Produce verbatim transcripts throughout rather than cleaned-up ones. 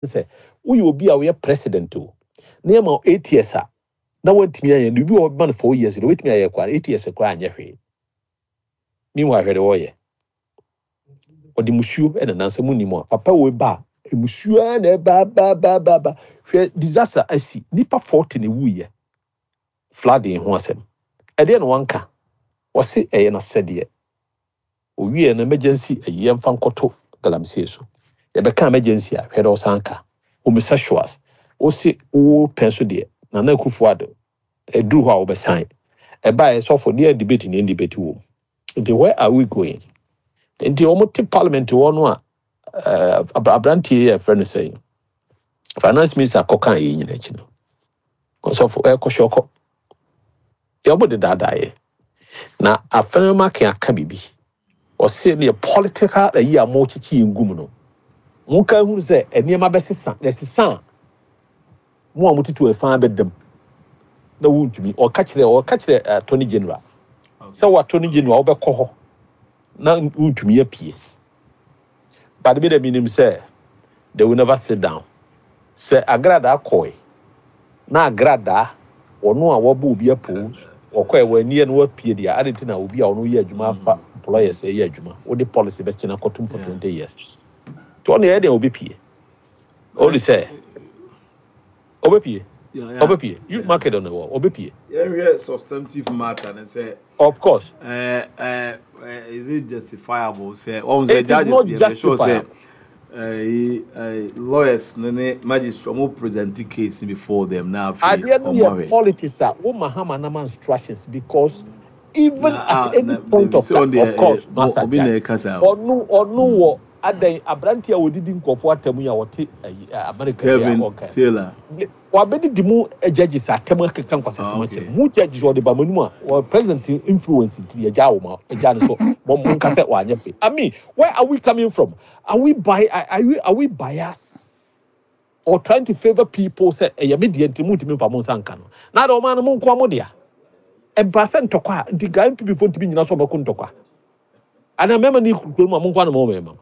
Sɛ woyɛ obi a woyɛ president o, na yɛma wo eight years a na woantumi ayɛ no, obi wɔ hɔ ma no four years na wobɛtumi ayɛ koraa, eight years koraa anyɛ hwee. Meanwhile, hwɛ de wɔyɛ, ɔde musuo ɛna nansa mu nim a papa wei ba a, musuo ara na ɛba ba ba ba ba. Hwɛ, disaster asi, nipa forty na ewuiɛ, flooding ho asɛm ɛdeɛ na wanka. Wɔse ɛyɛ n'asɛdeɛ. Owie no, emergency ɛyi, yɛmfa nkɔto galamsey so. Yɛbɛka emergency a, hwɛ dɛ ɔsan ka homosexuals. Wosi wo pɛn so deɛ, Nana Akufo Addo ɛduru hɔ a wɔbɛsan ɛbaeɛ. Sɔfo deɛ, debate ne debate wɔ mu. Nti where are we going? Nti wɔn te parliament hɔ no a, ɛɛ aberanteɛ yi a yɛfrɛ no sɛn, finance minister, kɔka yɛn nyina akyi no, ɔsɔfo ɛkɔhwɛ ɔkɔ deɛ ɔmo de daadaeɛ na afɛnɛma aka biribi. Ɔse neɛ political ayi a mo kyekye yɛn gu mu no, mo ka hunu sɛ nneɛma bɛsesa na ɛsesa a, mo a motutu ɛfa bɛdam na wontumi. Ɔka kyerɛ ɔka kyerɛ Attorney General sɛ wo Attorney General, wobɛkɔ hɔ na wontumi apue. But bi dɛ menim sɛ they will never sit down sɛ Agradaa kɔe na Agradaa ɔno a wɔbɔ obi apo ɔkɔɛ wɔ ani no wapue deɛ ade nti na obi a ɔno yɛ adwuma afa employers yɛ adwuma, wode policy bɛkyena kɔtom for twenty years nti ɔno yɛ deɛ obɛpie. Ɔne sɛ ɔbɛpie, ɔbɛpie. You mark it on the wall, ɔbɛpie. Yɛnhwɛ substantive matter ne sɛ of course uh, uh, is it justifiable sɛ wɔn sɛ It is judges not deɛ bɛ sure sɛ justifiable. uh, uh, lawyers ne ne magistrate ɔmo present case before them na afei Adeɛ no ɔmo yɛ ahwɛ politics a wo Mahama nama instructions, because even na at ah any na point David of sɛ time ɔno of deɛ course ɛ masa obi na gyae ɛka saa o. ɔno ɔno wɔ adan aberanteɛ a wɔdidi nkɔfoɔ atam yi a wɔte ayi ɛ, America yi a Kevin ɔka Taylor. wabɛdidi mu judges atam akeka Ah, nkwasasɛm akyerɛ okay mu judges. Ɔde ba mo anim a wɔ president influence nti yɛgya wo ma agya no so mo mo nka sɛ wanyɛ fe. I mean, where are we coming from? Are we by are we are we biased or trying to favour people sɛ ɛyɛ me deɛ nti muntumi mfa mo nsa nka no na de ɔman no mo nkoa mo dea? Ɛba sɛ ntɔkwa a nti nka N P P fo ntumi nyina so ɔmɛko ntɔkwa ana mɛma ne kuro mu a mo nkoa na mo mɛma.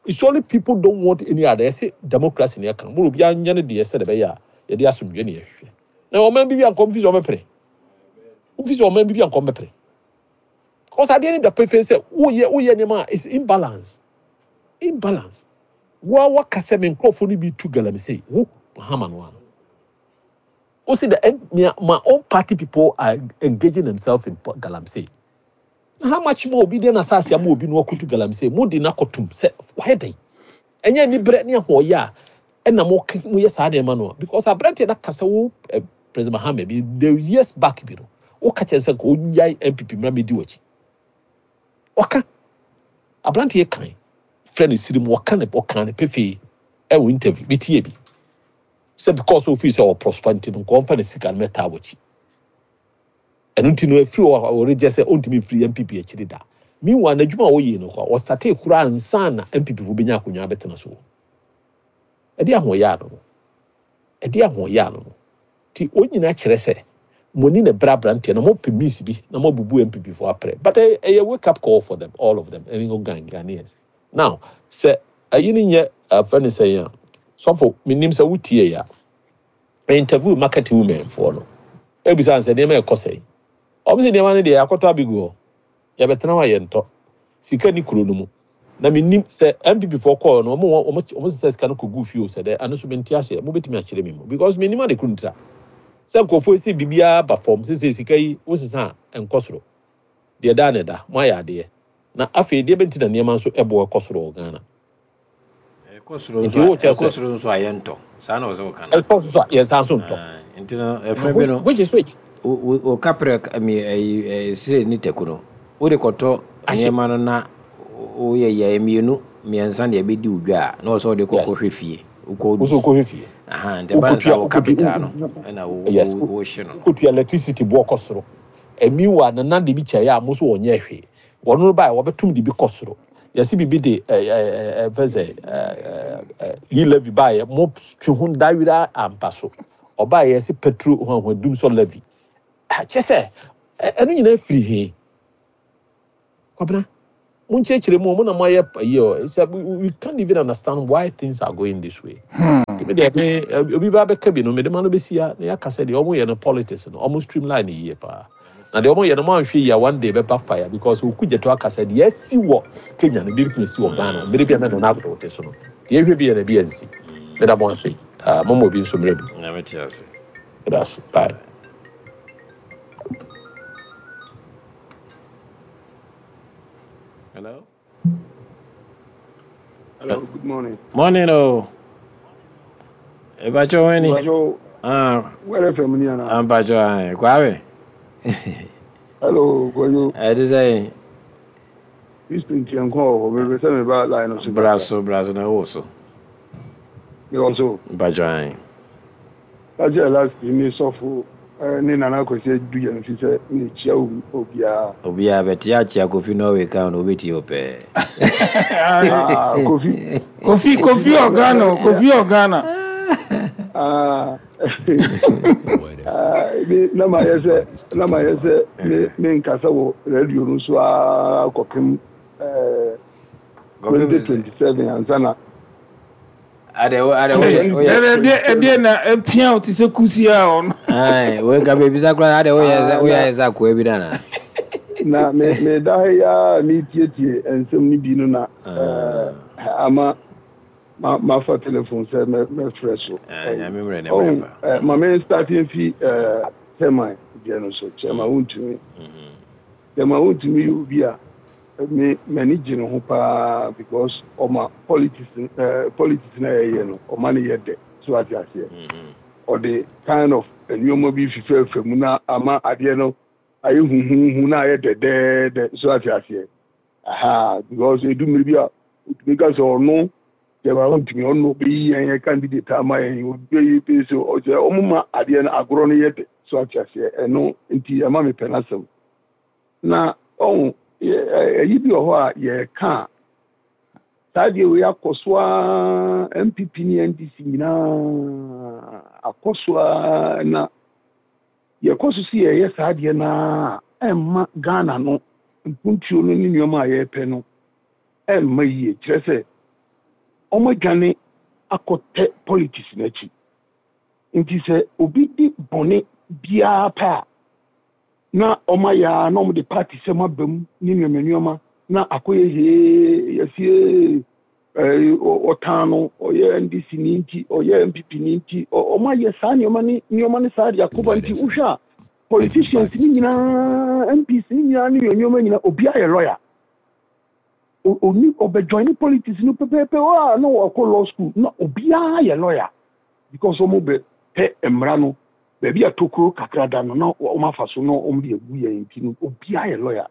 It's only people don't want any other. Yɛsɛ democracy ne ɛka mo, obiara nyɛ ne deɛ sɛ de bɛyɛ a yɛde asomdwe ne yɛhwehwɛ na ɔman bi bi ankɔ mfi sɛ ɔmɛpere mfi sɛ ɔman bi bi ankɔ mɛpere, cause adeɛ ne da pefee sɛ woyɛ woyɛ nneɛma a it's imbalance imbalance Wa waka sɛ me nkurɔfoɔ no bi tu galamsey, wo Mahama no ano wo see the end, me, my own party people are engaging themselves in galamsey. How much more obi de na asase ama obi no wakutu galamsey mo de na kɔtum sɛ wayɛ dɛn? Ɛnyɛ nibrɛ ne ahoɔyɛ a ɛna mo mo yɛ saa nneɛma no a, because aberanteɛ na kasa wo eh, President Mahama bi the years back bi no, woka kyerɛ sɛ nka ɔnyae N P P mmra mɛdi w'akyi. Ɔka aberanteɛ kan frɛ no sirim, wɔka ne ɔka ne pefee ɛwɔ interview bi tie bi sɛ because ofii sɛ ɔprosper nti no, nka ɔmfa ne sika no mɛtaa w'akyi. Ɛno nti no afiri hɔ a ɔregye sɛ ɔntumi mfiri N P P akyiri da. Meanwhile, n'adwuma a ɔyɛ no kɔ ɔstate kura ansa na N P P fo bɛnya akonnwa abɛtena so. Ɛde ahoɔyɛ ano no, ɛde ahoɔyɛ ano no nti wɔn nyinaa kyerɛ sɛ mo ni na brɛ aberanteɛ na mo pɛ means bi na mo abubu N P P fo aprɛ. But ɛyɛ ɛyɛ wake up call for them, all of them, ɛne ngo Ghan Ghanaians now sɛ ayi ne nyɛ afɛ ne sɛ yɛn a sɔfo menim sɛ wotie yɛ a interview market women foɔ no ebisa sɛ nneɛma ɛkɔ sɛn. Ɔmo sɛ nneɛma no deɛ akɔtɔ abegu hɔ, yɛbɛtena hɔ a yɛntɔ sika ni kuro no mu. Na menim sɛ N P P foɔ kɔɔ no, ɔmo ɔmo ɔmo sisa sika no kɔgu fie o. Sɛ dɛ ano so mente aseɛ, mobɛtumi akyerɛ me mu because menim ade koro ntira sɛ nkurɔfoɔ si biribiara ba fam sɛ sika yi wosesa a ɛnkɔ soro deɛ daa ne da mo ayɛ adeɛ na afei deɛ bɛnti na nneɛma nso ɛboɔ ɛkɔ soro wɔ Ghana. Ɛkɔ soro nti nso a wo kyerɛ ɛkɔ sɛ soro nso a yɛntɔ saa na ɔsɛ wɔka no. Ɛkɔ so a yɛnsa so ntɔ. Ah, nti no na ɛfɛ bi no which is which? wo wo kaprɛ mi ɛyi ɛsire ne tɛku no wode kɔtɔ ahye nneɛma no na woyɛ yɛ mmienu mmiɛnsa na ɛbɛdi wo dwa a na wɔsɛ wode kɔ yes kɔhwɛ fie wokɔ wo di so wokɔhwɛ fie. Aha, nti ɛba no saa wokotua wo wokotua capital no ɛna wo yes wo wohye no. Wokotua electricity boɔ kɔ soro emi wa nana de bi kyɛ a mo so wɔnyɛ hwee. Wɔn no ba a wɔbɛtum de bi kɔ soro, yɛsi bibi de ɛɛ ɛɛ ɛfɛ sɛ ɛɛ ɛɛ yi levy ba yɛ mo twe ho dawira ampa so ɔbaa yɛsi petrol ho ho dum so levy kyɛ sɛ ɛ ɛno nyinaa firi he kwabena. Monkyerɛkyerɛ mu, mo na moayɛ yi o. It's a- we we can't even understand why things are going this way. Nti me deɛ, me eh, obi ba bɛka bi no, mede ma no bɛsi ha na yɛaka sɛ deɛ ɔmo yɛ no, politics no, ɔmo streamline yie paa, na deɛ ɔmo yɛ no, mo anhwɛ yie a, one day bɛba fire, because Okudzeto aka sɛ deɛ asi wɔ Kenya no bi bɛtumi si wɔ Ghana mmere bi a na Nana Addo te so no. Deɛ ɛhwɛ bi yɛ na bi ansi. Meda mo ase. Ah, moma obi nso mmerɛ bi. Nyame te ase. Meda ase, bye. Hello. Hello, good morning. Morning o. Mepakyɛ wani? Mpacho, Ah, where F M ni ana? Ampakyɛ ah, Kwame. Hello, Kojo. Ɛte sɛ Houston tiɛ nkɔ wɔ hɔ, mepɛ sɛ meba line no so bra kakra. So bra so na ɛwɔ so. Mewɔ so. Mpakyɛ ah. Kakyɛ last ne sɔfo eh, ne Nana Kwasi adu yɛn fi sɛ mekyia obiara. Obiara bɛte akyea Kofi Norway ka na obɛtie wo pɛɛ. Ah, Kofi. Kofi Kofi Kofi na wɔ Ghana o, Kofi wɔ Ghana. Ah, ah, me na ma yɛ sɛ na ma yɛ sɛ me me nkasa wɔ radio no so a kɔpem eh, Kɔpem sɛ twenty twenty-seven ansa na ade wo ade woyɛ woyɛ Ɛdɛ ɛdeɛ ɛdeɛ na epia o te sɛ kusi a ɔno. Ai, wei ka bebisa koraa, ade woyɛ sɛ Ah, woyɛ na ayɛ sɛ akoa bi dana. Na me me da ha yi a metietie nsɛm no bi no na eh, ama ma mafa telephone sɛ mɛ mɛfrɛ so. Nyame mmerɛ ne mmerɛ Ɔhu pa. eh, ma me start mfi eh, chairman deɛ no so. Chairman Wontumi, Chairman Wontumi yɛ obi a me m'ani gye ne ho paa, because ɔma politics eh, politics na yɛyɛ no, ɔma no yɛ dɛ so, ate aseɛ? Ɔde kind of nneɛma bi fifɛɛfɛ mu na ama adeɛ no ayɛ huhuhu na ayɛ dɛdɛɛdɛ so, ate aseɛ? Aha, because edu mmiri bi a otumi ka sɛ ɔno Chairman Wontumi, ɔno bɛyi yɛn yɛ candidate ama yɛn, obeyi bi so, ɔsɛ ɔmo ma adeɛ no agorɔ no yɛ dɛ so, ate aseɛ? Ɛno nti ɛma mi pɛ n'asɛm. Na ɔho ɛyi bi wɔ hɔ a yɛreka a, saa deɛ wei akɔ so ara, N P P ne N D C nyinaa akɔ so ara, na yɛkɔ so si yɛyɛ saa adeɛ naa, ɛmma Ghana no mpuntuo no ne nneɛma a yɛrepɛ no ɛmma yie. Kyerɛ sɛ wɔn adwane akɔtɛ politics n'akyi, nti sɛ obi di bɔne biara pɛ a, na wɔn ayɛ a na wɔn de party sɛm aba mu ne nneɛma nneɛma na akɔyɛ hee yɛsie ɛɛ ɔtan no, ɔyɛ N D C ni nti, ɔyɛ N P P ni nti, wɔn ayɛ saa nneɛma ne nneɛma ne saa de akɔba. Nti wohwɛ a, politicians ne nyinaa, M Ps ne nyinaa ne nneɛma nyinaa, obiara yɛ lawyer. Oni ɔbɛjoin ne politics no pɛpɛɛpɛ a, na wakɔ law school, na obiara yɛ lawyer, because wɔn bɛ pɛ mmara no baabi a tokuro kakra da no na wɔn afa so na wɔn de agu yɛn. Ti no, obiara yɛ lawyer.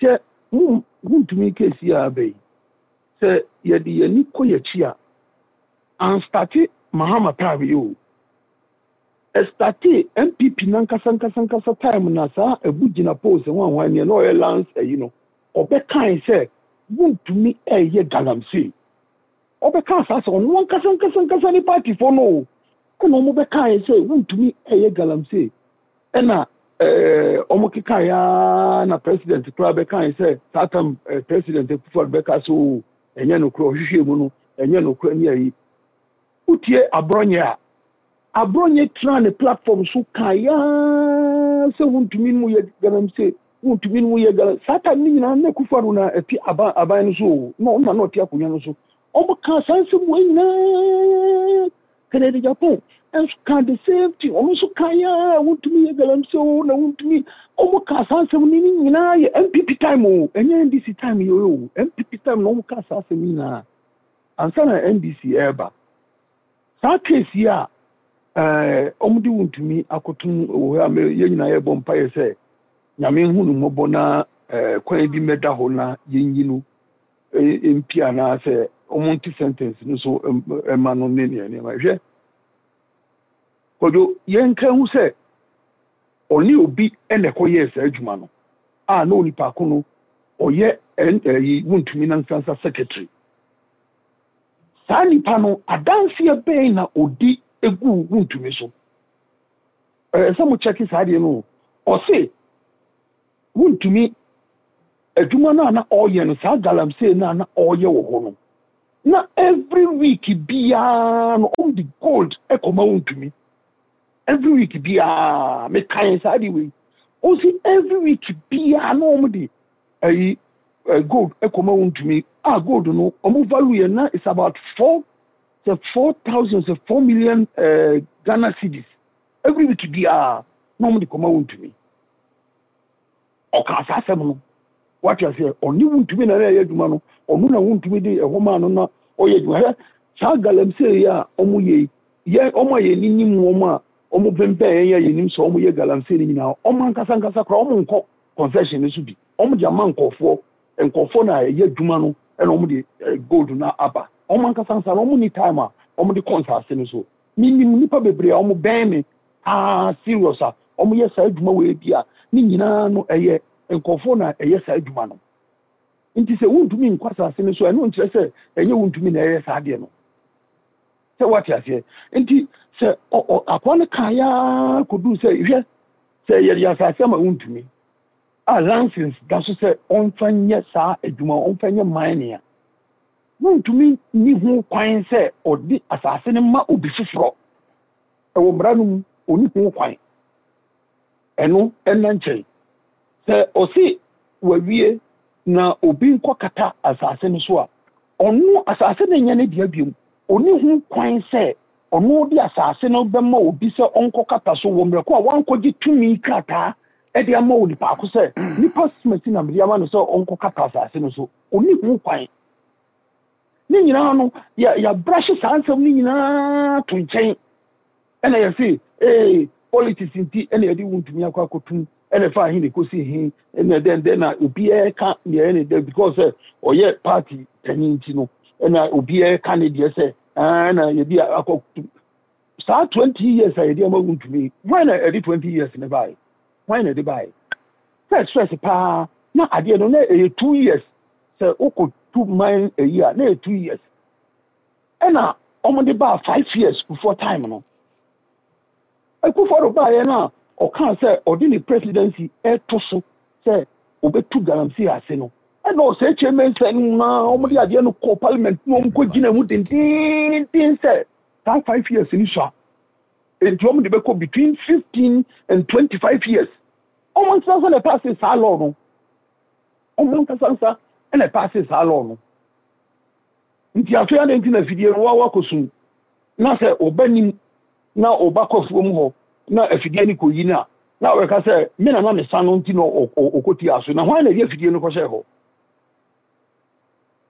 Sɛ mo Wontumi case a aba yi, sɛ yɛde yɛn ani kɔ yɛn akyi a, anstart Mahama time yi o, ɛstart N P P nankasa nkasa nkasa time na saa Abu Jinapor sɛ wɔn ahwan neɛ na ɔyɛ lands ayi no, ɔbɛkae sɛ Wontumi ɛyɛ galamsey. Ɔbɛka saa sɛ ɔno ankasa nkasa nkasa ne partyfoɔ no o, ɛna ɔmo bɛkae sɛ Wontumi ɛyɛ galamsey, ɛna ɛɛ ɔmo kekae aa na president koraa bɛkae sɛ saa tam ɛɛ President Akufo bɛka so o, ɛnyɛ nokorɛ, ɔhwehwɛ mu no ɛnyɛ nokorɛ ne ayi. Wotie Abronye a, Abronye tena ne platform so kae aa sɛ Wontumi no mu yɛ galamsey, Wontumi no mu yɛ galamsey. Saa time ne nyinaa na Akufo Addo na ɛte aban aban no so o, na ɔno na na ɔte akonnwa no so. Ɔmo ka saa nsɛm wɔ nyinaa. Kennedy Agyapong nso ka the same thing, ɔno nso ka yaa Wontumi yɛ galamsey o, na Wontumi, ɔmo ka saa nsɛm no ne nyinaa yɛ N P P time o, ɛnyɛ N D C time yɛ o. N P P time na ɔmo ka saa asɛm nyinaa ansa na N D C ɛɛba. Saa case yi a ɛɛ ɔmo de Wontumi akoto wɔ hɔ a, yɛn nyinaa yɛbɔ mpaeɛ sɛ Nyame hu no mmɔbɔ na ɛɛ kwan bi mmɛda hɔ na yɛnyi no mpi anaasɛ ɔmo nte sentence no so ɛma no ne nea nneɛma. Hwɛ, Kwadwo, yɛnka ho sɛ ɔne obi ɛna ɛkɔyɛɛ saa adwuma no a, na onipa ko no ɔyɛ ɛn ɛyi Wontumi nansansa secretary. Saa nipa no, adanseɛ bɛn na odi egu Wontumi so? Ɛɛ sɛ mo kyɛke saa deɛ no, ɔse Wontumi Adwuma no a na ɔreyɛ no, saa galamsey no a na ɔreyɛ wɔ hɔ no, na every week biara no ɔmo de gold ɛkɔma Wontumi. Every week biara, mekan saa de wei, ɔsi every week biara na ɔmo de ɛyi ɛ gold ɛkɔma Wontumi a, gold no ɔmo value yɛ na it's about four sɛ four thousand sɛ four million ɛɛ Ghana cedis. Every week biara na ɔmo de kɔma Wontumi. Ɔka saa asɛm no, wate aseɛ? Ɔne Wontumi na ɛyɛ adwuma no, ɔno na Wontumi de ɛhɔ maa no na ɔyɛ adwuma. Hɛ, saa galamsey yi a ɔmo yɛ yi, yɛ ɔmo a yɛn nim wɔn a ɔmo pɛmpɛn yɛn a yɛnim sɛ ɔmo yɛ galamsey no nyinaa, ɔmo ankasa ankasa koraa ɔmo nkɔ concession no so bi. Ɔmo de ama nkɔfoɔ, nkɔfoɔ na ɛyɛ adwuma no, ɛna ɔmo de gold no aba. Ɔmo ankasa ankasa no, ɔmo ni time a ɔmo de kɔ nsaase no so. Minim nipa bebree a ɔmo bɛn me paa serious a ɔmo yɛ saa adwuma wɔ ebi a ne nyinaa no ɛyɛ nkɔfoɔ na ɛyɛ saa adwuma no. Nti sɛ Wontumi nkɔ asase no so, ɛno nkyerɛ sɛ ɛnyɛ Wontumi na ɛyɛ saa adeɛ no, sɛ wate aseɛ? Nti sɛ akoa no kaa yaa kɔduu sɛ, hwɛ, sɛ yɛde asase ama Wontumi a license da so sɛ ɔmfa nyɛ saa adwuma, ɔmfa nyɛ mining a, Wontumi ni ho kwan sɛ ɔde asase no ma obi foforɔ. Ɛwɔ mmara no mu, ɔni ho kwan. Ɛno ɛna nkyɛn sɛ ɔsi wawie na obi nkɔ kata asase no so a, ɔno asase no nyɛ ne dea biom. Ɔni ho kwan sɛ ɔno de asase no bɛma obi sɛ ɔnkɔ kata so wɔ mmerɛko a wankɔgye tumi krataa ɛde ama onipa ko sɛ nipa simasi na mede ama no sɛ ɔnkɔ kata asase no so. Ɔni ho kwan. Ne nyinaa no yɛ yɛabrahye saa nsɛm no nyinaa to nkyɛn, ɛna yɛse ee politics nti ɛna yɛde Wontumi akɔ akɔtum, ɛna ɛfa ahe na ɛkɔsi he, ɛna dɛn dɛn na obiara ka deɛ ɛne dɛ, because sɛ ɔyɛ party panyin nti no, ɛna obiara ka ne deɛ sɛ ɛna yɛde akɔ saa twenty years a yɛde ama Wontumi. Hwan na ɛde twenty years ne baeɛ? Hwan na ɛde baeɛ? First first paa na adeɛ no na ɛyɛ two years sɛ wokɔ tu man ɛyi a, na ɛyɛ two years, ɛna wɔde baa five years before time no. Akufo-Addo baeɛ no a ɔkaa sɛ ɔde ne presidency ɛto so sɛ ɔbɛtu galamsey ase no, ɛna ɔsɛ kyerɛ sɛ na wɔde adeɛ no kɔ parliament na wɔn kɔ gyina mu dendenden sɛ saa five years ni so a, nti wɔn de bɛkɔ between fifteen and twenty-five years. Wɔn nsa nsa na ɛpass saa law no, wɔn nkasa nsa ɛna ɛpass saa law no. Nti afei adi nti na afidie no wawa kɔ sum na sɛ ɔba nim na ɔba kɔ afuom hɔ na afidie no kɔ yi no a, na ɔbɛka sɛ me na na me sa no nti na ɔkɔti aso, na hwan na ɛde afidie no kɔhyɛ hɔ?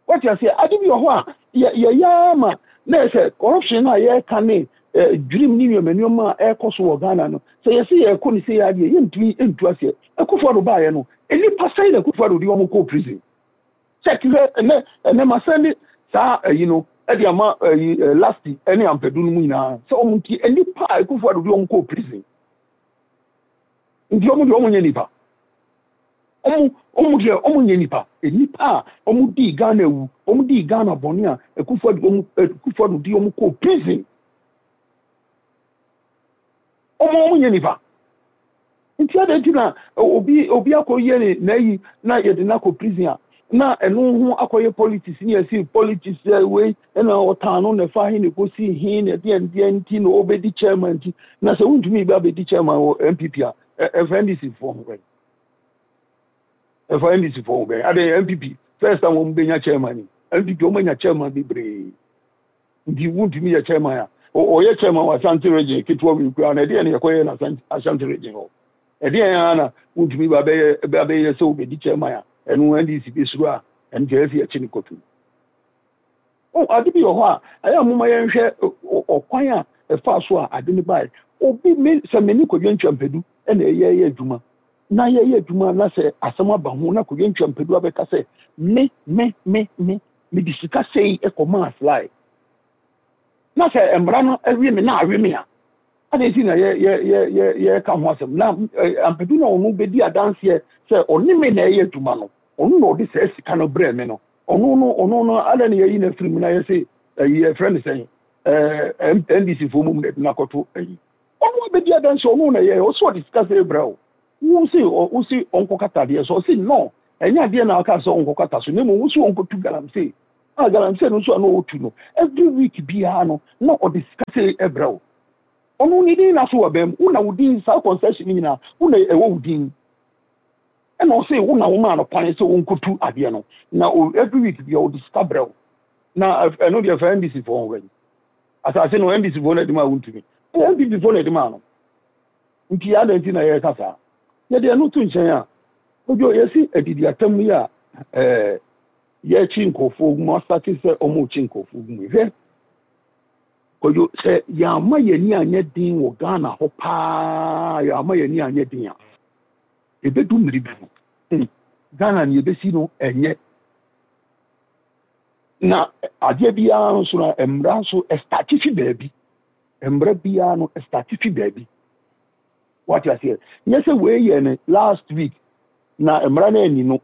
Wɔte aseɛ? Ade bi wɔ hɔ a yɛyɛ ama na yɛ sɛ corruption no a yɛreka ne dwirim ne nneɛma nneɛma a ɛrekɔ so wɔ Ghana no, sɛ yɛsɛ yɛrekɔ ne sɛ yɛ adeɛ yɛntumi ntu aseɛ. Akufo-Addo baeɛ no, nnipa sɛn na Akufo-Addo de wɔn kɔɔ prison? Check hwɛ, ɛnɛ ɛnɛ ma sɛn de saa ayi no ɛde ama ayi lasti ɛne Ampadu no mu nyinaa sɛ wɔn ti nnipa a Akufo-Addo de wɔn kɔɔ prison. Nti wɔn deɛ, wɔn nyɛ nipa? wɔn wɔn deɛ, wɔn nyɛ nipa? Nipa a wɔn di Ghana ewu, wɔn di Ghana bɔnne a Akufo-Addo wɔn Akufo-Addo di wɔn kɔɔ prison, wɔn wɔn nyɛ nipa? Nti adi nti na obi obi akɔ yɛ ne n'ayi na yɛde n'akɔ prison a, na ɛno ho akɔyɛ politics ne yɛsi politics ɛ wei, ɛna ɔtan no na ɛfa he na ekosi he na ɛdeɛ ndeɛ nti na ɔbɛdi chairman. Nti na sɛ Wontumi bi abɛdi chairman wɔ N P P a, ɛfɛ N D C foɔ ho bɛn? Ɛfa N D C foɔ ho bɛn? Ade N P P first time wɔn bɛnya chairman ni, N P P wɔn anya chairman bebree, nti Wontumi yɛ chairman a, ɔyɛ chairman wɔ Ashanti Region ketewa wi kura na ɛdeɛ na yɛkɔyɛ na Ashanti Region hɔ, ɛdeɛ yɛn ara na Wontumi ba bɛyɛ ba bɛyɛ sɛ ɔbɛdi chairman a, ɛno N D C bɛsuro a ɛno kyerɛ sɛ yɛkyi ne kɔtu. Ade bi wɔ hɔ a ɛyɛ a moma yɛnhwɛ ɔkwan a ɛfa so a ade no baeɛ. Obi me sɛ me ne Kwadwo Ntwampadu ɛna ɛyɛ yɛ adwuma na yɛyɛ adwuma na sɛ asɛm aba ho na Kwadwo Ntwampadu abɛka sɛ me me me me mede sika sei ɛkɔmaa Sly, na sɛ mmara no awie me na awe me a, ade nti na yɛ yɛ yɛ yɛ yɛka ho asɛm na Ampadu na ɔno bɛdi adanseɛ sɛ ɔne me na ɛyɛ adwuma no, ɔno na ɔde saa sika no brɛ me no, ɔno no ɔno no ada ne yɛyi no afiri mu na yɛsɛ ɛyi yɛfrɛ no sɛn, ɛɛ N D C foɔ mu na ɛde no akɔto ɛyi. Ɔno abɛdi adanseɛ, ɔno na yɛ ɔsɛ ɔde sika sɛ brɛ o, wo se wo se ɔnkɔ katadeɛ so, ɔse no, Ɛnyɛ adeɛ na aka sɛ ɔnkɔkata so, na mmom wo so ɔnkɔtu galamsey a, galamsey no nso a na ɔtu no every week biara no, na ɔde sika sɛ ɛbrɛ wo. Ɔno ne din na so wɔ bɛn wo na wo din, saa concession nyinaa wo na ɛwɔ wo din, ɛna ɔsɛ wo na wo maa no kwan sɛ ɔnkɔtu adeɛ no, na every week biara ɔde sika brɛ wo. Na ɛno deɛ, fa N D C foɔ ho bɛyi asase no, N D C foɔ no adi ma a, wontumi, ɛyɛ N P P foɔ no adi ma no. Nti adan nti na yɛreka saa, yɛde ɛno to nkyɛn a, Odwo, yɛsi adidi atam yi a, ɛɛ yɛkyi nkurɔfoɔ gu mu, asate sɛ ɔmo kyi nkurɔfoɔ gu mu. Hwɛ Kwadwo, sɛ yɛama yɛni anyɛ den wɔ Ghana hɔ paa, yɛama yɛni anyɛ den a, ebedu mmiri bi no, hmm, Ghana ne yɛbɛsi no ɛnyɛ na adeɛ biara nso na mmara nso ɛstart fi baabi. Mmara biara no ɛstart fi baabi, wate aseɛ? Nyɛ sɛ wei yɛ no last week na mmara no ani no,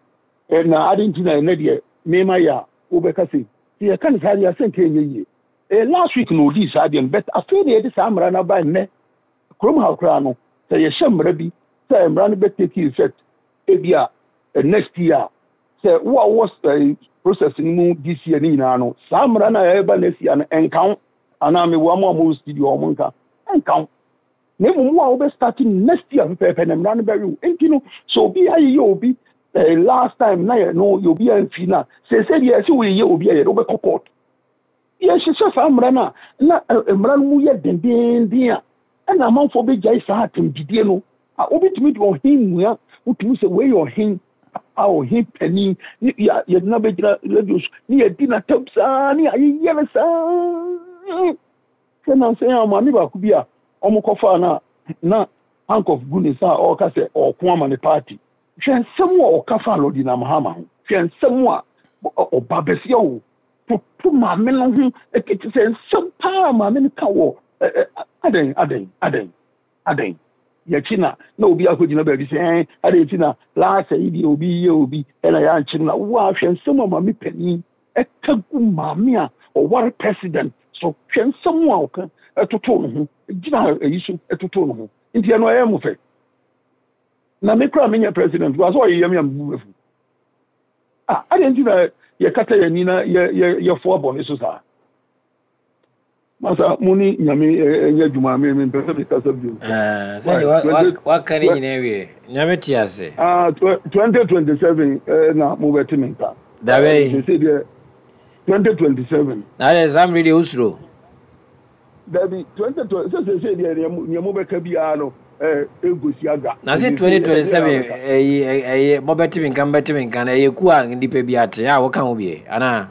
na ade nti na ɛnɛ deɛ mema yɛ a wobɛka sɛ sɛ yɛka no saa deɛ, asɛ nka ɛnyɛ yie. Eh, last week na odii saa deɛ no, but afei na yɛde saa mmara no aba. Nnɛ kurom ha koraa no, sɛ yɛhyɛ mmara bi sɛ mmara no bɛ take effect ebi a next year, sɛ wo a wɔ process no mu this year ne nyinaa no, saa mmara no a ɛreba next year no ɛnka ho, anaa mewɔ mo a mo studio, ɔmo nka ɛnka ho, na mmom wo a wobɛ start next year pɛpɛɛpɛ na mmara no bɛwe wo. Nti no, sɛ obi ayeyɛ obi eh, last time na yɛ no yɛ obi amfi no a, sɛsɛ deɛ ɛsɛ woyɛyɛ obi a, yɛde wobɛkɔ court. Yɛhyehyɛ saa mmara no a, na mmara no mu yɛ dendenden a, ɛna amanfoɔ bɛgyae saa atɛmdidie no a wobɛtumi de ɔhen mua. Wotumi sɛ wei yɛ ɔhen a, ɔhen panin ne yɛde no bɛgyina radio so ne yɛdi n'atam saa ne yɛayeyɛ no saa. Sɛ nansɛn a maame baako bi a ɔmo no a na handcuff gu ne nsa a, ɔreka sɛ ɔko ama ne party. Hwɛ nsɛm a ɔka fa Lordina Mahama ho. Hwɛ nsɛm a ɔba bɛsia o toto maame no ho ɛkete sɛ nsɛm paa maame no ka wɔ adɛn, adɛn, adɛn, adɛn. Yɛkyi na na obi akɔgyina baabi sɛ ɛn adɛn nti na laasa yi deɛ obi yɛ obi ɛna yɛankye no, na wo a hwɛ nsɛm a maame panin ɛka gu maame a ɔware president so. Hwɛ nsɛm a ɔka ɛtoto no ho, gyina ayi so ɛtoto no ho. Nti ɛno ɛyɛ mo fɛ na me kora menyɛ president wa sɛ ɔyɛ yɛm yɛ mbu afu ah. Adɛn nti na yɛkata yɛn ani na yɛ yɛ yɛfoa bɔne so saa? Masa, mo ne Nyame ɛnyɛ adwuma. Me mempɛ sɛ mekasa bio. Sɛdeɛ waka ne nyinaa wie, Nyame te ase. Twenty twenty-seven na mobɛte me nka. Dabɛyi. Sɛ deɛ twenty twenty-seven. Na adɛ saa mmere deɛ wosuro? Dabi, twenty twenty sɛ sɛ sɛ deɛ nea mobɛka biara no ɛnkosi aga. Na sɛ twenty twenty-seven ɛyi ɛyɛ mobɛte me nka, mobɛte me nka na ɛyɛ ku a nnipa bi ate a wɔka ho bie anaa?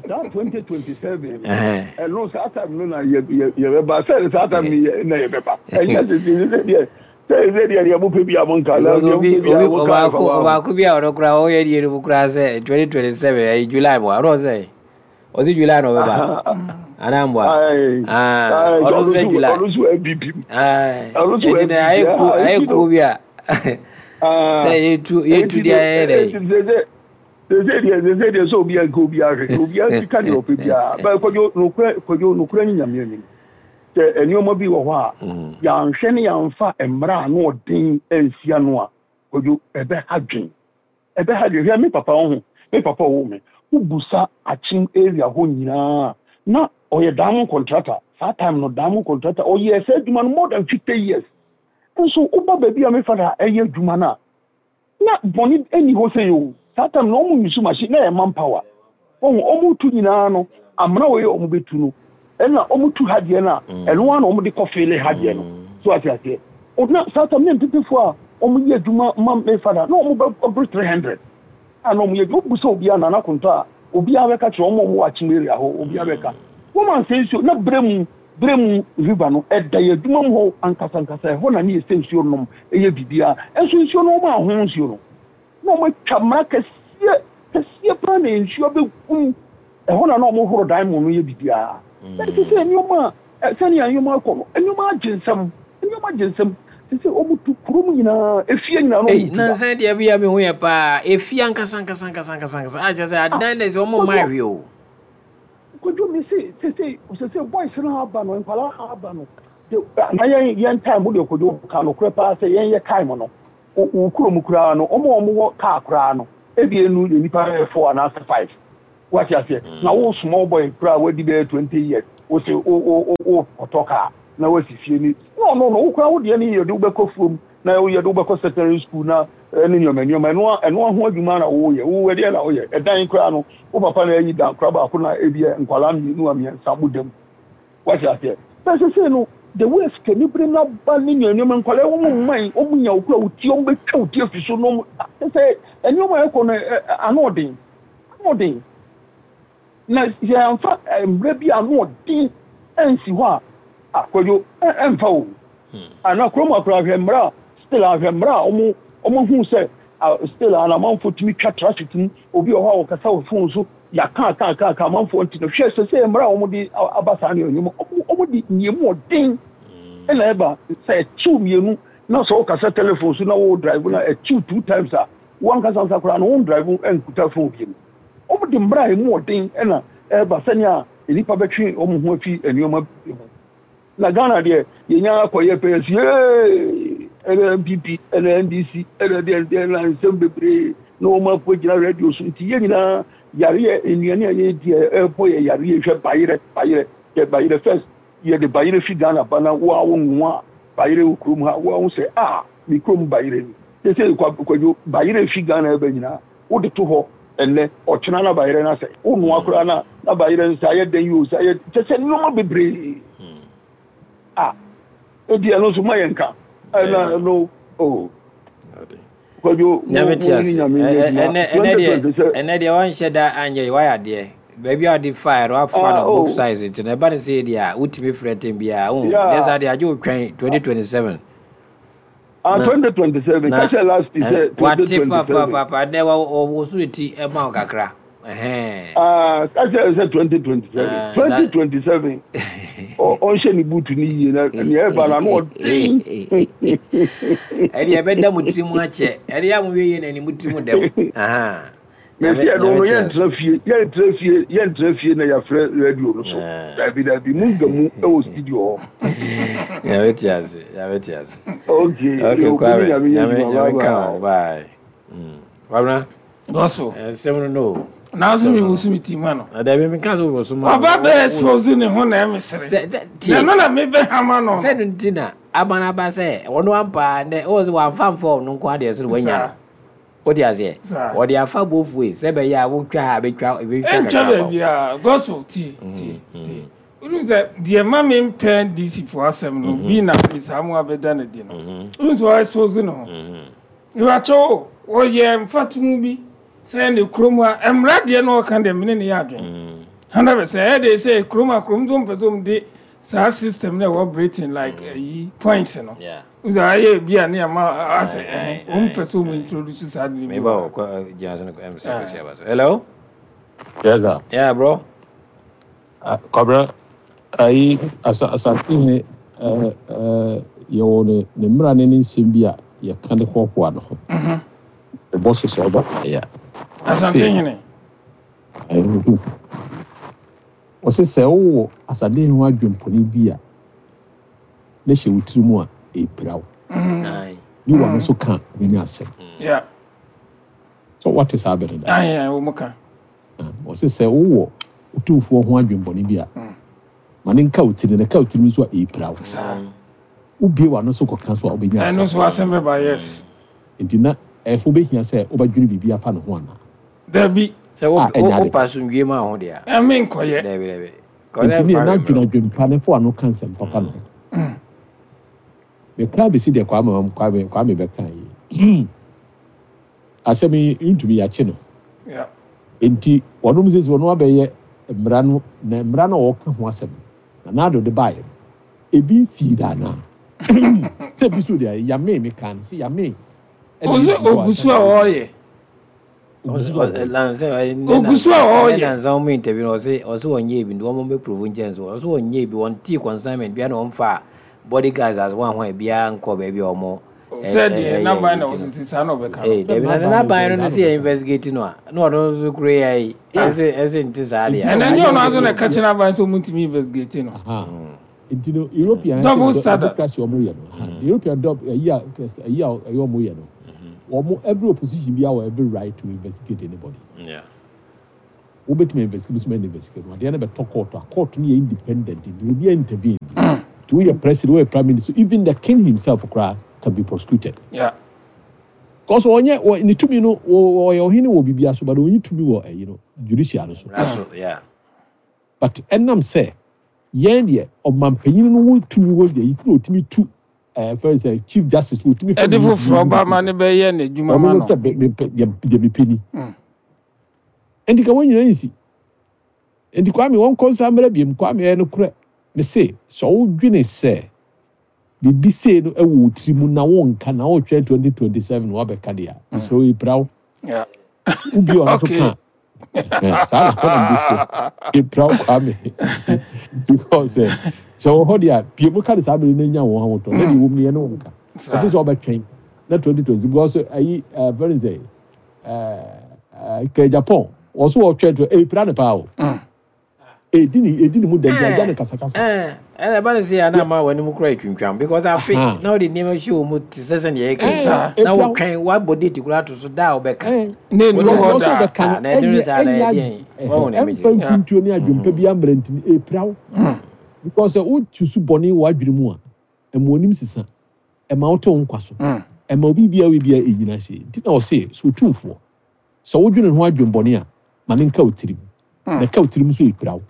Saa twenty twenty-seven ɛno, saa time no na yɛbɛba sɛ saa time no na yɛbɛba. Ɛnyɛ sɛ sɛ deɛ sɛ sɛ deɛ deɛ mopɛ bi a monka na deɛ mopɛ bi a monka. Ɔbaako bi a ɔno koraa ɔyɛ deɛ no mu koraa sɛ twenty twenty-seven ɛyɛ July mu a, ɔno sɛ ɔsɛ July na ɔbɛba anaa mboa? Ɔno sɛ July. Ɔno nso N P P. Ɔno nso N P P. Ayɛ kuo, ayɛ kuo bi a sɛ yɛtu yɛtu deɛ ayɛ dɛ. Sɛ deɛ sɛ deɛ sɛ obi anka obi ahwɛ, obi asika deɛ ɔpɛ biara bɛɛ. Kwadwo, nokorɛ, Kwadwo, nokorɛ ne Nyame anim sɛ nneɛma bi wɔ hɔ a yɛanhwɛ ne yɛamfa mmara a na ɔden ansia no a, Kwadwo, ɛbɛha dwen, ɛbɛha dwen. Hwɛ, me papa wo ho, me papa ɔwɔ me wobusa Akyem area hɔ nyinaa na ɔyɛ diamond contractor. Saa time no, diamond contractor, ɔyɛ sɛ adwuma no more than fifty years. Nso woba baabi a me father ɛyɛ adwuma no a, na bɔne ani hɔ sɛ o saa time na ɔmo use machine na ɛyɛ manpower. Ɔmo ɔmo tu nyinaa no, amena wɔ yɛ ɔmo bɛtu no, ɛna ɔmo tu ha deɛ no a, ɛno ara na ɔmo de kɔ fill ha deɛ no so, ate aseɛ? Na saa time ne mpepefoɔ a ɔmo yɛ adwuma ma me father na ɔmo bɛ ɔbere three hundred a na ɔmo yɛ adwuma. Obu sɛ obiara nana kontɔ a, obiara bɛka kyerɛ ɔmo a ɔmo wɔ Akyem area hɔ, obiara bɛka wɔn ansa nsuo na brɛ mu brɛ mu river no ɛda yɛ adwuma mu hɔ ankasa ankasa. Ɛhɔ na ne yɛ sɛ nsuo nom ɛyɛ biribiara. Ɛnso nsuo no, ɔmo aho nsuo no na ɔmo atwa mmara kɛseɛ kɛseɛ paa na nsuo abɛgum ɛhɔ na na ɔmo horo dan mu no yɛ biribiara. Ɛte sɛ nneɛma a sɛnea nneɛma akɔ no, nneɛma agye nsɛm, nneɛma agye nsɛm te sɛ ɔmo tu kurom nyinaa, efie nyinaa na ɔmo tu da. Nansan deɛ bi a mi hu yɛ paa, efie ankasa ankasa ankasa ankasa ankasa a kyerɛ sɛ adan de sɛ ɔmo mma ahwɛ o. Kojú mi se sese sese boys no aba no, nkwadaa aba no de na yɛn yɛn time de. Kojú, ka nokorɛ paa sɛ yɛn yɛ time no, Wo kurom koraa no, ɔmo a ɔmo wɔ kaa koraa no, ebi enu yɛ nipa bɛyɛ four anaasɛ five. Wate aseɛ? Na wo small boy koraa wadi bɛyɛ twenty years, wo se wo wo wo kɔtɔ kaa na wasi fie ni. No no no, wo koraa wo deɛ ne yɛde wobɛkɔ fuom na yɛde wobɛkɔ secondary school na ɛne nneɛma nneɛma ɛno ɛno ho adwuma na woyɛ. Wo ɛdeɛ na woyɛ ɛdan koraa no, wo papa na ayi dan koraa baako na ebi nkwalaa mmienu a mmiɛnsa mo dam. Wate aseɛ? Bɛsɛ sɛ no, the way sikanibere no aba ne nneɛma nneɛma, nkwalaa wɔn mman wɔn nya wo kura wo ti, wɔn bɛtwa wo ti afi so na wɔn sɛ nneɛma a ɛkɔ no ano ɔden, ano ɔden. Na yɛmfa mmerɛ bi ano ɔden ɛnsi hɔ a, akwadwo ɛmfa o. Ana kurom akora, ahwɛ mmerɛ a still, ahwɛ mmerɛ a wɔn wɔn hu sɛ still a amanfoɔ tumi twa traffic mu. Obi wɔ hɔ a wɔkasa wɔ phone so, yɛaka aka aka aka amanfoɔ nti no, hwɛ sɛ sɛ mmerɛ a wɔn de aba saa nneɛma, wɔn de nneɛma ɔden ɛna ɛba sɛ ɛkyiw mmienu na sɛ wɔkasa telephone so na wɔwɔ drive na ɛkyiw two times a, wɔn ankasa nsa koraa no, wɔn drive nkuta phone bi mu. Wɔn de mmerɛ a emu ɔden ɛna ɛba sɛnea nnipa bɛtwe wɔn ho afi nneɛma bi ho. Na Ghana deɛ, yɛnya akɔyɛ pɛyɛ si ee, ɛna N P P, ɛna N D C, ɛna deɛ deɛ na nsɛm bebree na wɔn akɔ gyina radio so. Nti yɛn nyinaa yareɛ, nnuane a yɛdi a ɛbɔ yɛ yareɛ. Hwɛ bayerɛ, bayerɛ yɛ bayerɛ first, yɛde bayerɛ fi Ghana ba na wo a wo nwa bayerɛ wɔ kurom ha, wo a wo sɛ a mi kurom bayerɛ ni sɛ sɛ Kwadwo, bayerɛ fi Ghana ɛbɛ nyinaa, wode to hɔ ɛnɛ, ɔkyena na bayerɛ no asɛ wo noa koraa na na bayerɛ no sɛ ayɛ dɛn yi o, sɛ ayɛ kyɛ sɛ nneɛma bebree a edi ɛno nso ma yɛn ka ɛna ɛno o, Kwadwo. Nyame te ase. Ɛnɛ deɛ ɛnɛ deɛ wanhyɛ da anyɛ yi, wayɛ adeɛ baabi a wɔde fa no, wafa no both sides. Nti na ɛba no sɛ deɛ a wotumi frɛ ntɛm biara wo deɛ, saa deɛ agye wo twɛn twenty twenty-seven. Ah, twenty twenty-seven kakyɛ last sɛ twenty twenty-seven. Wate papapapa dɛ wɔ so ti ɛma wo kakra. Ah, kakyɛ sɛ twenty twenty-seven, twenty twenty-seven, ɔnhyɛ ne boot ne yie na nea ɛba na no ɔden. Ɛdeɛ ɛbɛda mo tiri mu akyɛ, ɛdeɛ a mo wie yie na ɛni mo tiri mu dɛm. Mesi ɛno no, yɛntena fie, yɛntena fie, yɛntena fie na yɛafrɛ radio no so. Dabi dabi, mu nga mu ɛwɔ studio hɔ. Nyame te ase, Nyame te ase. Okay. Okay, Kwame, Nyame Nyame ka ho. Bye Kwabena. Bɔso. Nsɛm no no. Nanso mi wusu mi ti ma no. Dabi, mi ka so wusu ma. Ɔba bɛ expose ne ho na ɛmi sere. Na ɛno na mi bɛ hama no. Sɛ no nti na ama no aba sɛ ɔno ampa nɛ ɔwɔ sɛ wamfa mfa ɔno nko adeɛ so no wanya no. Wode aseɛ, wɔde afa both ways sɛ bɛyɛ a wotwa ha bɛtwa bɛtwa. Ɛntwa baabi a gɔso tie tie tie, wonim sɛ deɛ ma me mpɛ D C fo asɛm no bi na saa mu abɛda no di no, wonim sɛ ɔexpose ne ho ìwàkyɛw o, wɔyɛ mfatoho bi sɛ ne kurom a mmara deɛ na ɔka deɛ mene ne yɛ adwene hundred percent. Ɛyɛ de sɛ kurom a kurom nso mpɛ sɛ ɔmo de saa system na ɛwɔ Britain, like ɛyi points no nso ayɛ bi a ne ama asɛ ɛhɛn ɔmo pɛ sɛ ɔmo introduce saa de ne bi. Meba wɔ gyina so no ɛm sɛ kɔsi aba so. Hello. Yes, sir. Yeah, bro. Uh, Kwabena, ayi asa Asantehene ɛɛ ɛɛ yɛwɔ ne ne mmara ne ne nsɛm bi a yɛka de hoahoa ne ho. Ɛbɔ so sɛ ɔba yɛ. Asantehene. Wɔsɛ sɛ wowɔ Asantehene ho adwempɔne bi a ne hyɛ wo tiri mu a, ɛpira wo. Bi wa no so ka wobɛnya asɛm. Yeah. So wate saa bɛne da? Ayi ayi, wɔn ka. Wɔsɛ sɛ wowɔ otumfoɔ ho adwempɔne bi a, ma ne nka wo tiri na ka wo tiri nso a, ɛpira wo. Saa. Wobie w'ano so kɔka so a, wobɛnya ɛno asɛm. Nso asɛm bɛba, yes. Nti na ɛfo bɛhia sɛ wobɛdwene biribi afa ne ho anaa? Dabi. Sɛ A, ɛnyɛ ade. wopa asomdwie ma wo ho deɛ a, ɛmi nkɔyɛ. Dabi dabi. Nti ne na dwene adwempa ne fo ano ka nsɛm papa no ho. Mekra bɛsi deɛ Kwame Kwame Kwame bɛka yi, asɛm yi ntumi yɛakye no. Yeah. Nti wɔnom sɛ sɛ wɔn abɛyɛ mmara no na mmara no a wɔka ho asɛm no na n'ado de baeɛ no, ebi nsii da anaa sɛ ebi so deɛ yame meka no sɛ yame ɛna Ozu ebi wɔ ogu so a ɔreyɛ. Ogu so a ɔreyɛ. Ogu so a ɔreyɛ. Nansa wɔn interview no, ɔsɛ ɔsɛ wɔnyɛ bi, nti wɔn bɛ prove nkyɛn so ɔsɛ wɔnyɛ bi, wɔn tii consignment bia na wɔn fa bodyguards as wɔn ahɔn biara nkɔ baabi a wɔn. Sɛ deɛ n'aban na ɔso si saa na ɔbɛka no. Ee, dabi, na n'aban no no sɛ yɛ investigate no a, na ɔno nso kuro yɛ yi ɛsɛ ɛsɛ nti saa deɛ. Ɛnɛ nyɛ ɔno aso na ɛka kyerɛ n'aban sɛ ɔmo ntumi investigate no. Aha. Nti no European Double standard. Democracy ɔmo yɛ no, aha. European dub ɛyi a ɛyi a ɛyɛ ɔmo yɛ no. Wɔn every opposition bi wɔ every right to investigate anybody. Yeah. Wobɛtumi investigate, so investigate no, adeɛ no bɛtɔ court a, court no yɛ independent, nti obi intervene. Nti woyɛ president, woyɛ prime minister, even the king himself koraa can be prosecuted. Yeah. Cause ɔnyɛ wɔ ne tumi no, ɔyɛ ɔhene wɔ biribi so, but ɔnye tumi wɔ ɛyi no, judicial no so. That's yeah. But ɛnam sɛ yɛn deɛ, ɔmanpanyin no wɔ tumi wɔ deɛ yi ti na otumi tu ɛɛ fɛn sɛ chief justice otumi fɛ. Ɛde foforɔ ba ma ne bɛyɛ n'adwuma ma no. Ɔno sɛ mepɛ deɛ mepɛ ni. Nti ka wɔn nyinaa nsi. Nti Kwame, wɔn kɔ nsa mmerɛ biem. Kwame, ɛyɛ no korɛ me se sɛ ɔdwene sɛ biribi sei no ɛwɔ wo tiri mu na wɔnka na wɔtwɛn twenty twenty seven wabɛka deɛ a, mesrɛ wo, epira wo. Yeah. Wobi ɔno so ka saa na hɔ na bi epira wo, Kwame, because ɛ sɛ wɔ hɔ deɛ a, pie mu ka de saa bere na nya wɔn ahotɔ na deɛ wɔm no yɛ ne wɔn ka ɛfi sɛ ɔbɛtwɛn na twenty twenty, because ayi ɛɛ fɛn sɛ ɛɛ kɛ Japan wɔn so wɔtwɛn to epira ne paa o, edi ni edi ni mu dɛm agya ne kasakasa. Ɛna ɛba ne sɛ ana ama w'anim kora atwintwam because afe na wode nneɛma hyɛ wɔ mu te sɛ sɛdeɛ yɛka na wotwɛn, woabɔ date koraa ato so da a wobɛka. Ne nu hɔ da. Ɔbɛka na ɛduru saa na ɛdeɛn wɔn na ɛmfa mfuntuo ne adwempa bi ammerɛ, nti epira wo, because sɛ wotu so bɔne wɔ adwene mu a, ɛma onim sisa, ɛma wote wo nkwa so, ɛma obi bia wo bia ɛnyina hyɛ. Nti na ɔse sɛ otumfoɔ sɛ wodwene ho adwembɔne a, ma ne nka wo tirim, na ka wo tirim so epira wo,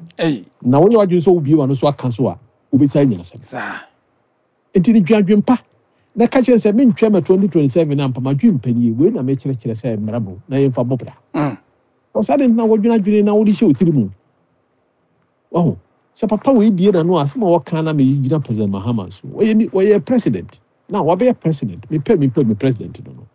na woyɛ w'adwene sɛ wobie w'ano so aka so a, wobɛsa anya asɛm. Nti ne dwen adwempa na ka kyerɛ sɛ mentwɛn ma twenty twenty-seven ampa madwen mpanie wei na mekyerɛkyerɛ sɛ mmara mu na yɛmfa bɔ bra. Ɔsa de na wɔdwene adwene na wode hyɛ wo tiri mu wahu sɛ papa wei bie n'ano a, asɛm a wɔka na meyi gyina President Mahama so. Wɔyɛ ni, wɔyɛ president na wabɛyɛ president, mepɛ mepɛ me president no no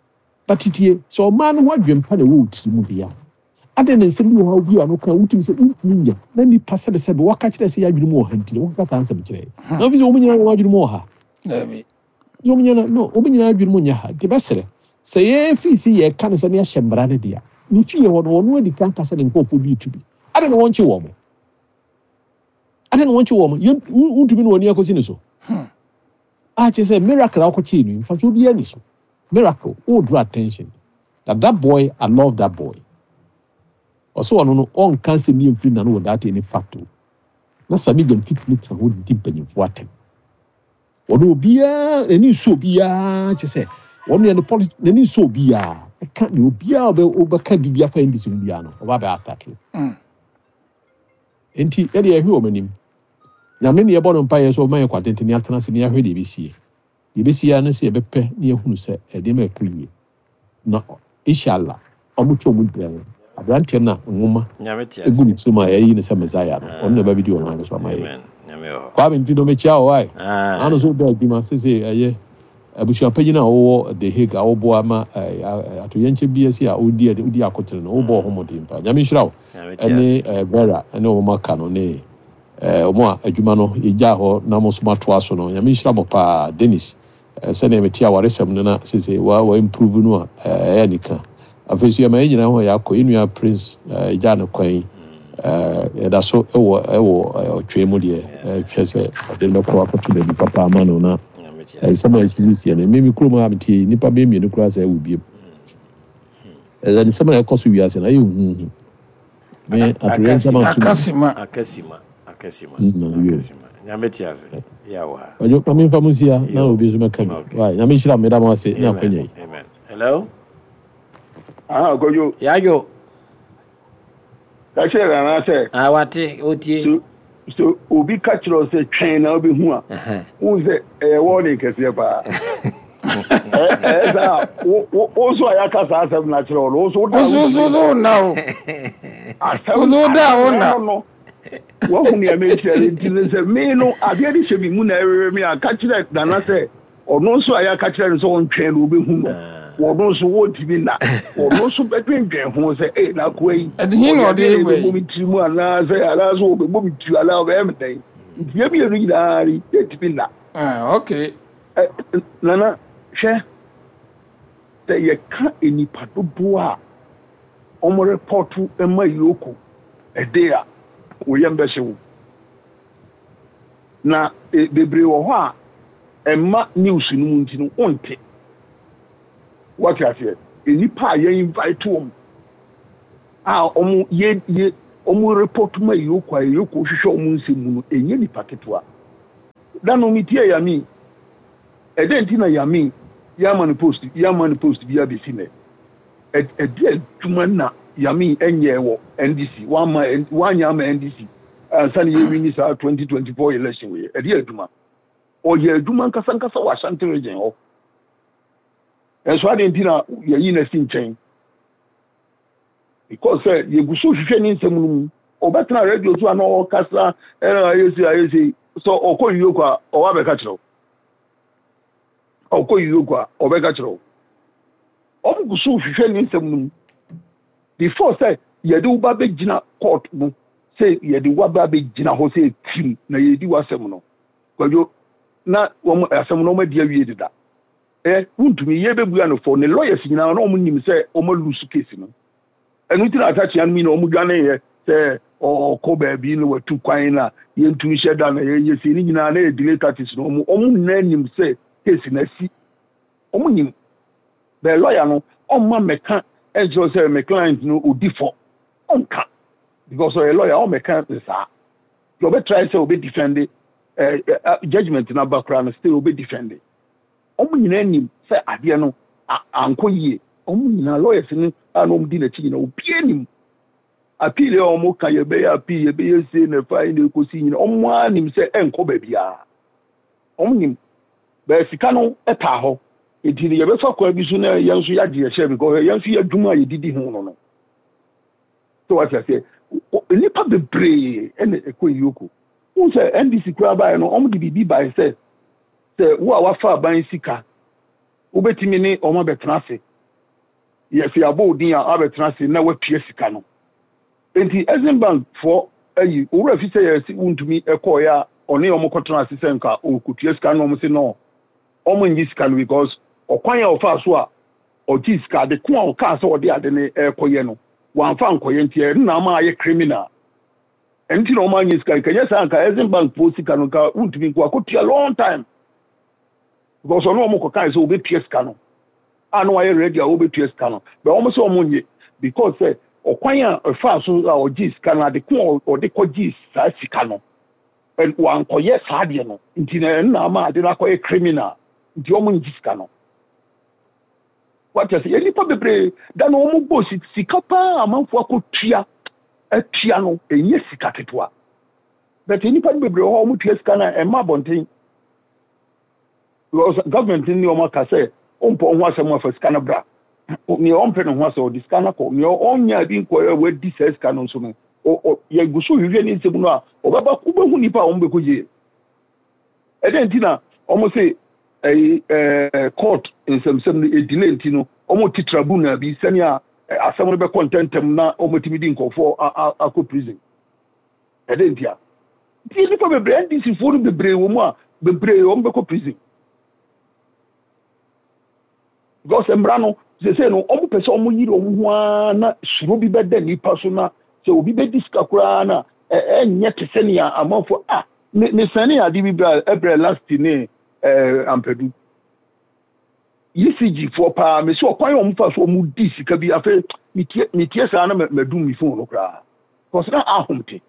but tie sɛ ɔmaa no ho adwempa na ɛwɔ wo tiri mu deɛ a, adɛn na nsɛm bi wɔ hɔ a obi a no ka wotumi sɛ wontumi nya na nipa sɛbesɛbe wɔka kyerɛ sɛ yɛ adwene mu wɔ ha, nti na wɔkeka saa nsɛm kyerɛ na wofi sɛ wɔn nyinaa wɔn adwene mu wɔ ha. Dabi. Wɔn nyinaa no, wɔn nyinaa adwene mu nyɛ ha, nti bɛsrɛ sɛ yɛfiri sɛ yɛka no sɛ ne yɛahyɛ mmara no deɛ, ne fie hɔ no, wɔn adi kan kasa ne nkurɔfoɔ bi tu bi, adɛn na wɔnkye wɔn mo? Adɛn na wɔnkye wɔn mo? Yɛn wontumi ne wɔn ani akɔsi ne so a, kyerɛ sɛ miracle a wɔkɔkyee no, mfasoɔ biara ni so. Miracle wo draw attention that that boy, I love that boy. Ɔsɛ ɔno no ɔnka nsɛm bi mfiri n'ano without any fact o, na Sami Gyamfi tumi tena hɔ di mpanyinfoɔ atɛm. Ɔno obiara n'ani nso, obiara kyerɛ sɛ ɔno yɛ no politics n'ani nso, obiara ɛka ne obiara ɔbɛ ɔbɛka biribi afa N D C mu biara no, ɔba bɛ attack o. Nti yɛde yɛhwɛ wɔn anim, Nyame ne yɛbɔ no mpa yɛ sɛ ɔma yɛ kwatenten ne atena ase ne yɛahwɛ deɛ ɛbɛsie. Deɛ ɛbɛsie ara ne sɛ yɛbɛpɛ ne yɛhunu sɛ ɛdeɛma ɛkɔ yie na inshallah ɔmo twɛ ɔmo brɛ no, aberanteɛ no a nwoma Nyame te egu ase. Ne tirim a yɛyi ne sɛ Messiah no, ɔno na ɛba bi di ɔman no so ama yɛ. Amen. Nyame wɔ hɔ. Kwame, nti no mekyia wɔ wae Ah. ano so wobɛ adwuma sese ɛyɛ abusuapanyin a wɔwɔ The Hague a wɔboa ma ɛɛ, atoyɛnkyɛ bi asi a wodi wodi akotene no, wobɔ ho mmɔden pa. Nyame nhyira wo. Nyame te ase. Ɛne ɛɛ, Vera ɛne wɔn aka no ne ɛɛ, wɔn a adwuma no yɛgyaa hɔ na mo nso moatoa so no, Nyame nhyira mo paa. Dennis, ɛɛ, sɛdeɛ mete awaresɛm no na sese wa wa improve no a, ɛɛ, ɛyɛ anika. Afei so yɛma yɛn nyinaa ho a yɛakɔ yɛn nua Prince ɛɛ, yɛgyaa no kwan yi, ɛɛ, yɛda so ɛwɔ ɛwɔ ɛɛ, ɔtwe mu deɛ ɛhwɛ sɛ ɔde no bɛkɔ akɔto baabi papa ama no na Nyame te ase. nsɛm a ɛsisisiɛ no, mímí kurom a metie yi, nnipa bɛyɛ mmienu koraa sɛ ɛwɔ biem. Ɛsɛ nsɛm a ɛkɔ so wiase no ayɛ huhu me atoyɛnsɛm ato mu. Akasima. Akasima. Akasima. Mm, na yo. Akasima. Nyame te ase. Yɛ wɔ ha. Ɔdwo ma memfa mo nsia na Yo. obi nso mɛka bi. Okay. Wae, Nyame nhyira mo, meda mo ase ne Amen. akwanya yi. Amen. Hello. Aha, Kwadwo. Yajo. Ka kyerɛ Nana sɛ Ah, wate otie. so so obi ka kyerɛ wo sɛ twɛn na wobɛhu a, Ɛhɛn. wohu sɛ ɛyɛ wɔne kɛseɛ paa. Ɛ- ɛyɛ saa a, wo wo- wo nso a yɛaka saa asɛm no akyerɛ wo no, wo nso woda a Woso wontumi so nna. so na o. Asɛm Woso da asɛm wo na. no no wahu nea mekyerɛ no, nti no sɛ me no adeɛ de hyɛ me mu na ɛwewe me a, ka kyerɛ Nana sɛ ɔno nso a yɛaka kyerɛ no sɛ ɔntwɛn no wobɛhu no, Ah. wɔno nso wɔntumi nna, ɔno nso bɛdwendwen ho sɛ ei, na akoa yi Ɛde hin na ɔde ɔde adeɛ na ba ɛbɛbɔ yi. me tiri mu anaasɛ anaasɛ wɔbɛbɔ me tiri anaa ɔbɛyɛ me dɛn, nti yɛ mmienu nyinaa no yɛntumi nna. Ah, okay. Ɛ, Nana, hwɛ sɛ yɛka nnipa dodoɔ a ɔmo report ma EOCO ɛde a, wɔyɛ mbɛhye wo na e, bebree wɔ hɔ a ɛma news no mu nti no wonte. Wɔte aseɛ, nnipa a yɛn invite wɔn a wɔn yɛ yɛ wɔn report ma EOCO a EOCO hwehwɛ wɔn nsɛm mu no, ɛnyɛ nipa ketewa. Da no metie Yami, ɛdɛn nti na Yami yɛama no post, yɛama no post bi abɛsi nɛ? Ɛde adwuma na Yami ɛnyɛ wɔ N D C, wama wanyɛ ama N D C ansa na yɛwin saa twenty twenty-four election wei. Ɛde adwuma ɔyɛ adwuma nkasa nkasa wɔ Ashanti Region hɔ. Ɛnso ade nti na yɛyi na si nkyɛn? Because sɛ yɛgu so hwehwɛ ne nsɛm no mu, ɔbɛtena radio so a na ɔkasa, ɛna ayɛ se ayɛ se sɛ ɔkɔ EOCO a, ɔwɔ abɛka kyerɛw. Ɔkɔ EOCO a, ɔbɛka kyerɛw. Ɔmo gu so hwehwɛ ne nsɛm no mu before sɛ yɛde wo ba bɛgyina court no, sɛ yɛde wo ba bɛgyina hɔ sɛ tirim na yɛdi w'asɛm no. Kwadwo, na wɔn asɛm no wɔn adi awie deda. Ɛ wuntumi yɛ bɛbua no fɔ ne lawyers nyinaa na wɔn nim sɛ wɔn alose case no. Ɛno ti na atakyea no mi na wɔn dwane yɛ sɛ ɔkɔ baabi na watu kwan na yɛntumi hyɛ da na yɛyɛ sei ne nyinaa na yɛ delay tactics no. wɔn wɔn nyinaa nim sɛ case na asi. Wɔn nim bɛɛ lawyer no ɔmma mɛka ɛnkyerɛ sɛ mɛ client no odi fɔ. Ɔnka because ɔyɛ lawyer, ɔmɛka ne saa deɛ ɔbɛtry sɛ ɔbɛ defend ɛɛ ɛ judgement n'aba koraa no, still ɔbɛ defend. Wɔn nyinaa nim sɛ adeɛ no ankɔ yie. Wɔn nyinaa, lawyers no a na wɔn di n'akyi nyinaa, obiara nim appeal a wɔn ka, yɛbɛyɛ appeal, yɛbɛyɛ se na ɛfa yi na ekosi nyinaa, wɔn ara nim sɛ ɛnkɔ baabiara. Wɔn nim bɛɛ sika no ɛtaa hɔ, eti no yɛbɛfa kwan bi so na yɛn nso yɛagye yɛhyɛ because yɛn nso yɛ adwuma a yɛdidi ho no no So wate aseɛ, nnipa bebree ɛna ɛkɔ EOCO. Wɔn sɛ N D C koraa baeɛ no, wɔn de biribi baeɛ sɛ sɛ wo a wafa aban sika, wobɛtumi ne wɔn abɛtena ase, yɛsɛ yɛabɔ wo din a abɛtena ase na watua sika no. Nti Exim Bank foɔ ayi owura fi sɛ yɛsi wuntumi ɛkɔɔyɛ a ɔne wɔn kɔtena ase sɛ nka ɔkɔtua sika no, wɔn sɛ no, wɔn ngye sika no because ɔkwan a ɔfa so a ɔgye sika, ade ko a ɔkaa sɛ ɔde ade no ɛrekɔyɛ no, wɔamfa nkɔyɛ, nti ɛno na ama ayɛ criminal. Ɛno nti na wɔn anyɛ sika. Nkɛnyɛ saa nka Exim Bank foɔ sika no nka wuntumi nko akɔtua long time because ɔno wɔn kɔkaa sɛ ɔbɛtua sika no a na wayɛ ready a wɔbɛtua sika no, bɛ wɔn sɛ wɔn nye because sɛ ɔkwan a ɛfa so a ɔgye sika no, ade ko a ɔde kɔgye saa sika no, wankɔyɛ saa adeɛ no, nti na ɛno na ama ade no akɔyɛ criminal, nti wɔn ngye sika no. Wate ase, yɛ nipa bebree da na wɔn bɔ sika paa, amanfoɔ akɔtua atua no, ɛnyɛ sika ketewa, but nipa no bebree wɔ hɔ a wɔn tua sika no a ɛma abɔnten because government ni wɔn aka sɛ ɔmpɔ ho asɛm afa sika no bra. Nea ɔmpɛ ne ho asɛ ɔde sika no akɔ, nea ɔnya bi nkɔ a wadi saa sika no nso no, yɛgu so hwehwɛ ne nsɛm no a ɔbɛba, wobɛhu nipa a wɔn bɛkɔ gye. Ɛdɛn nti na wɔn se ɛyi ɛɛ court nsɛmsɛm no edelay? Nti no wɔn ti tribunal bi sɛnea asɛm no bɛkɔ ntɛntɛm na wɔn atumi di nkɔfoɔ akɔ prison. Ɛdɛn nti a nti nipa bebree, N D C foɔ no bebree wɔ mu a bebree wɔn bɛkɔ prison because mmara no sese no, wɔn pɛ sɛ wɔn yiri wɔn ho ara na suro bi bɛda nipa so na sɛ obi bɛdi sika koraa na ɛnyɛ te sɛ nea amanfoɔ a me mesane ade bi bra ɛbrɛ last ne ɛɛ Ampadu E C G foɔ paa. Mesi ɔkwan a wɔn fa so wɔn di sika bi, afei metie metie saa na mɛdum mi phone no koraa kɔsɛ na ahom te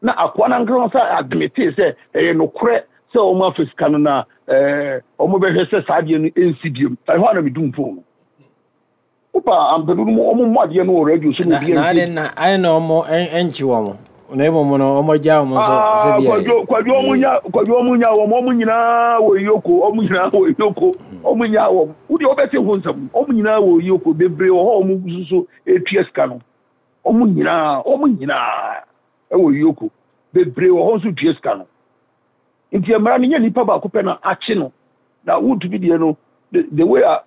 na akoa nankasa sɛ admit sɛ ɛyɛ nokorɛ sɛ wɔn afa sika no na ɛɛ wɔn bɛhwɛ sɛ saa adeɛ no nsi biem. Ɛhɔ a na medum phone no. Wopa Ampadu no, wɔn mmɔ adeɛ no wɔ radio so na obi na ade na ade na wɔn nkyi wɔn na mmom no wɔn agya wɔn nso sɛ bi. Kwadwo, Kwadwo, wɔn nya Kwadwo, wɔn nya wɔn wɔn nyinaa wɔ EOCO, wɔn nyinaa wɔ EOCO, wɔn nya wɔn. Wodi wɔbɛte ho nsɛm, wɔn nyinaa wɔ EOCO, bebree wɔ hɔ wɔn nso so etua sika no. Wɔn nyinaa wɔn nyinaa ɛwɔ EOCO, bebree wɔ hɔ nso tua sika no. Nti mmara no nyɛ nipa baako pɛ na akye no na wotumi deɛ no the the way a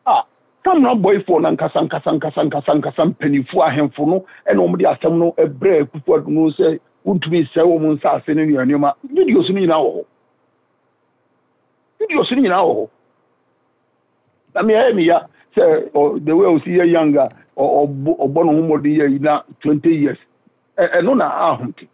a Samreboi foɔ no nkasa nkasa nkasa nkasa nkasa, mpanimfoɔ ahemfo no ɛna wɔn de asɛm no ɛbrɛ Akufo Addo no sɛ wontumi nsɛe wɔn nsaase no nneɛma nneɛma. Videos no nyinaa wɔ hɔ, videos no nyinaa wɔ hɔ. Na mmea yɛ meya sɛ ɔ the way osi yɛ young a ɔbɔ ɔbɔ ne ho mmɔden yɛ yi na twenty years ɛno na ahom te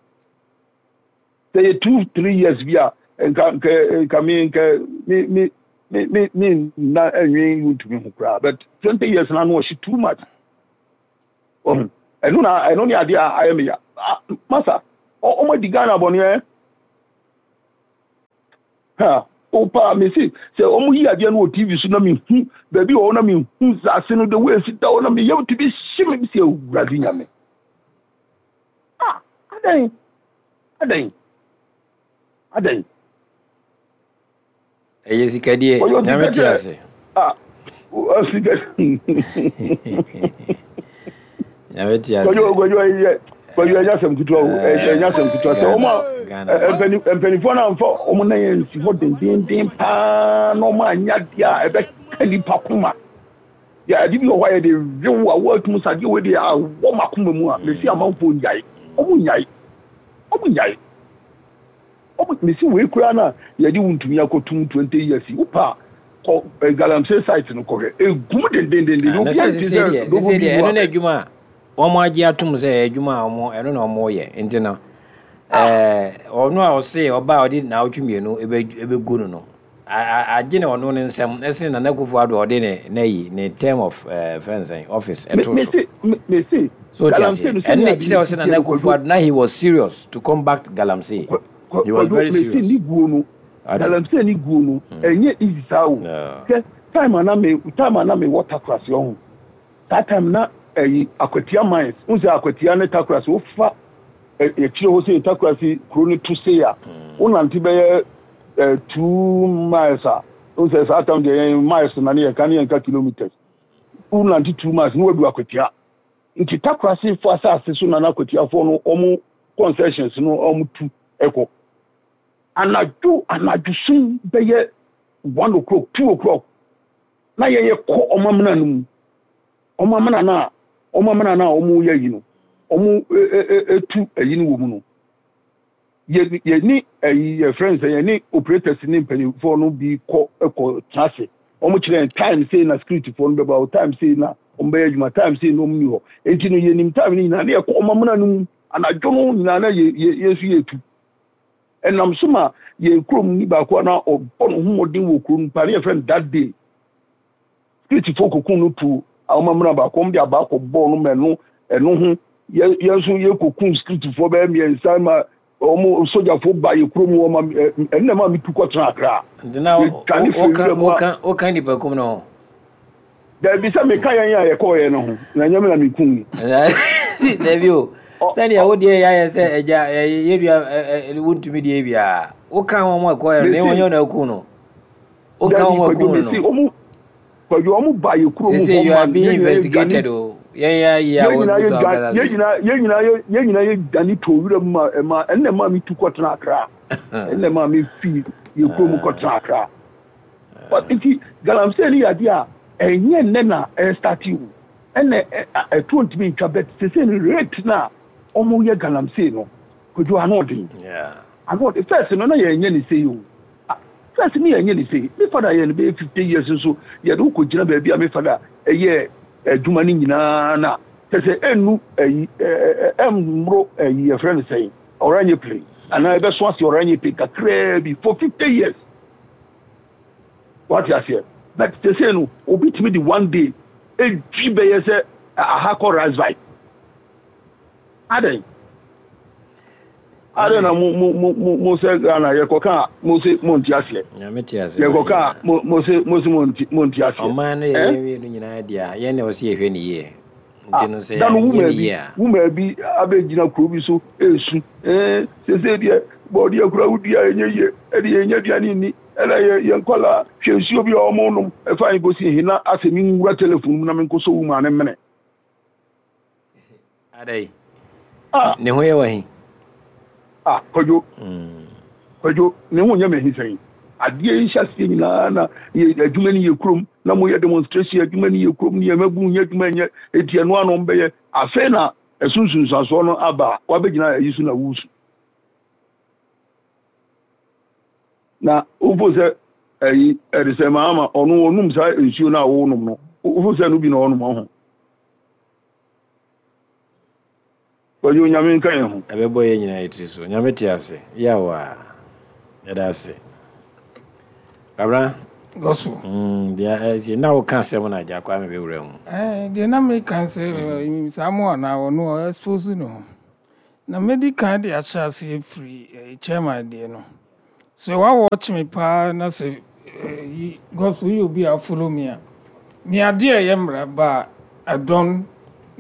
sɛ yɛ two three years bi a nka nka nka mi nka mi mi Me me me na ɛnwen Wontumi ho koraa, but twenty years na no ɔhye too much. Ɔho ɛno na ɛno ne adeɛ a ayɛ me ya. Masa, ɔmo adi Ghana bɔne ɛ. Ha opa, me si sɛ ɔmo yi adeɛ no wɔ T V so na me hu baabi wɔ hɔ na me hu saase no, the way esi da hɔ, na me yam ti bi hye me si. Awurade Nyame, ah, adan, adan, adan? Ɛyɛ sikadie. Nyame te ase. Ah, sika. Nyame te ase. Kwadwo, Kwadwo, ɛyɛ Kwadwo, ɛnyɛ asɛm ketewa o, ɛnyɛ asɛm ketewa sɛ ɔmo a mpanimfoɔ no amfa ɔmo nan yɛn nsi hɔ dendenden paa na ɔmo anya deɛ a ɛbɛka nipa koma yɛ. Ade bi wɔ hɔ a yɛde wew a wɔatum sɛ adeɛ wei deɛ awɔ ma koma mu a, mesi amanfoɔ nyae, ɔmo nyae, ɔmo nyae, ɔmo mesi wei koraa na yɛde Wontumi akɔtum twenty years. Wopa kɔ galamsey site no, kɔhwɛ, egum dendendenden. Obi a ti sɛ dogo bi ɛno na adwuma a wɔn agye atom sɛ ɛyɛ adwuma a wɔn ɛno na wɔn yɛ. Nti no ɛɛ ɔno a ɔse ɔbaa a ɔde naawɔtwe mmienu ɛbɛgu no no agye ne ɔno ne nsɛm ɛsene Nana Akufo Addo a ɔde ne n'ayi ne term of ɛɛ fɛnsɛn office ɛto so. So o ti ase, ɛno na kyerɛ sɛ Nana Akufo Addo na he was serious to combat galamsey. He was very serious. Ni guo no, galamsey ni guo no, ɛnyɛ easy saa o. Hwɛ, time a na me time a na me wɔ Takorasi ɔho, saa time na ɛyi Akwatia mines n sɛ Akwatia ne Takorasi, wofa akyire hɔ sɛ Takorasi kuro no to sei a, wonante bɛyɛ two miles a, n sɛ saa time deɛ yɛn miles na ne yɛka ne yɛnka kilometers. Wonante two miles ne wadu Akwatia. Nti Takorasi fo asase so na na Akwatiafoɔ no ɔmo concessions no ɔmo tu ɛkɔ anadwo anadwo sum bɛyɛ one o'clock, two o'clock, na yɛyɛ kɔ ɔmo amena no mu, ɔmo amena no a ɔmo amena no a ɔmo yɛ yi no, ɔmo etu ɛyi no wɔ mu no, yɛ yɛni ɛyi yɛfrɛ no sɛ yɛne operators ne mpanyinfoɔ no bi kɔ ɛkɔ tena ase. Ɔmo kyerɛ yɛn time sei na security foɔ no bɛba o, time sei na ɔmo bɛyɛ adwuma, time sei na ɔmo ni hɔ. Nti no yɛnim time no nyinaa ne yɛkɔ ɔmo amena no mu anadwo no nyinaa na yɛ yɛ yɛ nso yɛtu. Ɛnam so ma yɛn kurom ni baako a na ɔbɔ ne ho mmɔden wɔ kurom pa ne yɛfrɛ no that day, security foɔ kokun no tu a ɔmo amena baako, ɔmo de abaa kɔ bɔɔl no ma ɛno ɛno ho yɛ yɛn nso yɛ kokun security foɔ bɛyɛ mmiɛnsa ma ɔmo sogyafoɔ ba yɛ kurom wɔ ma ɛno na ma mi tu kɔtena Akra. Nti na woka woka woka nipa kum no ho? Dabi, sɛ meka yɛn a yɛkɔɔ yɛn no ho na nyɛ me na mekum. Dabi o, sɛdeɛ wo deɛ yɛayɛ sɛ agya yɛdua Wontumi deɛ biaa woka wɔn a ɛkɔɔ yɛ no na wɔnyɛ na aku no, woka wɔn aku no no Kwadwo, ɔmo ba yɛ kurom. Sese you are being investigated o, yɛn yɛ ayi a wɔgu so akasa. Yɛn nyinaa yɛn nyinaa yɛn nyinaa yɛ dane to wura mu ma ɛma ɛnna ɛma mi tu kɔtena Akra, ɛnna ɛma mi fi yɛ kurom kɔtena Akra. But nti galamsey ni yɛ adeɛ a ɛnyɛ nnɛ na ɛstart o, ɛnna ɛtoɔ ntumi ntwa, but sese no rate na ɔmo yɛ galamsey no, Kwadwo, ano ɔden, ano ɔden. First no na yɛn nyɛ ne sei o, first ne yɛn nyɛ ne sei. Me father yɛ no bɛyɛ fifty years nso yɛde wokɔ gyina baabi a me father ɛyɛ adwuma no nyinaa na kyɛ sɛ ɛnnu ɛyi ɛmmoro ɛyi yɛfrɛ no sɛn, ɔranye plane anaa ɛbɛso ase ɔranye plane kakraa bi for fifty years, wate aseɛ? But sɛ sɛ no obi tumi de one day edwi bɛyɛ sɛ aha kɔ rasvite. Adɛn, adɛn na mo mo mo mo mo sɛ Ghana yɛkɔka a mo se mo nte aseɛ? Nyame te ase. Yɛkɔka a mo mo se mo se mo nte mo nte aseɛ. Ɔman no yɛ yɛn mmienu nyinaa deɛ a yɛn na ɔsi yɛhwɛ ne yie, nti no sɛ da no yɛnyɛ wuma ne bi yie a wuma bi abɛgyina kuro bi so esu ɛɛ sese deɛ bɔɔdeɛ kura wodua ɛnyɛ yie, ɛde yɛn nyɛ aduane nni, ɛna yɛ yɛn nkɔla hwɛ nsuo bi a wɔn nom ɛfa yɛn kɔsi hena asɛ mi nwura telephone mu na mi nkɔsɔ wuma ne mene. Adai ah ne ho yɛ wahi? Ah, Kwadwo, Kwadwo, ne ho nyɛ me ahi sɛn? Adeɛ yi hyɛ aseɛ nyinaa na yɛ adwuma no yɛ kurom na moyɛ demonstration, adwuma no yɛ kurom ne yɛmabu nyɛ adwuma nyɛ eti ɛno ano bɛyɛ. Afei na ɛso nsunsuansoɔ no aba a wabɛgyina ayi so na wusu na wofo sɛ ɛyi ɛde sɛ maama ɔno ɔnum saa nsuo no a wɔnom no, wofo sɛ no bi na ɔnom ɔho. Kwadwo, Nyame nka yɛn ho. Ɛbɛbɔ yɛn nyinaa yɛ tiri so. Nyame te ase. Yaw a yɛda ase. Abra Gospel. Mm, deɛ ɛsi na woka asɛm na agya kwa me bɛwura mu. Eh, deɛ na meka sɛ saa mo anaa ɔno ɔ expose ne ho. Na medi kan de ahyɛ aseɛ firi eh, chairman deɛ no. Sɛ woawɔkye me paa na sɛ eh, yi gospel yi obi a follow me a, me adeɛ a ɛyɛ mmara ba a, I don't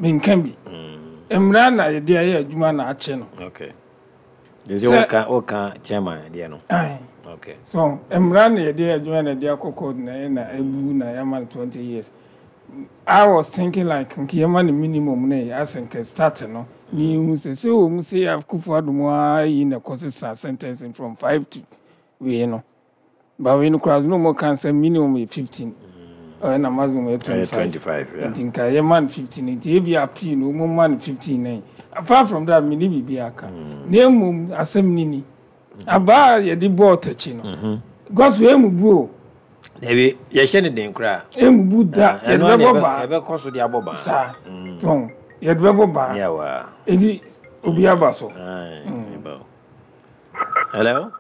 menka bi. Mmara na yɛde ayɛ adwuma na akye no. Okay. De sɛ woka woka chairman deɛ no. Aye. Okay. So mmara na yɛde ayɛ adwuma na yɛde akɔ court na ɛyɛ na ebu na yɛama no twenty years. I was thinking like nka yɛma no minimum na yɛ asɛ nka start no ne ehu sɛ sɛ wɔ mu sɛ Akufo Addo mu ara yi na ɛkɔ sesa sentencing from five to wei no. Ba wei no koraa no mo kan sɛ minimum yɛ fifteen. Ɛna na maximum yɛ twenty five. twenty five. Yeah. Nti nka yɛma no fifteen, nti ebi appeal no wɔn ma no fifteen nine. Apart from that, mi ni biribi aka. Na emom asɛm ni ni. Abaa a yɛde bɔɔ takyi no. Gospel emu bu o. Dabi, yɛhyɛ ne den koraa. Emu bu da, yɛde Ɛno bɛbɔ baa. yɛbɛkɔ so de abɔ baa. Saa. Tɔn yɛde bɛbɔ baa. Yawa. Nti obi aba so. Aye. Mm. Hello.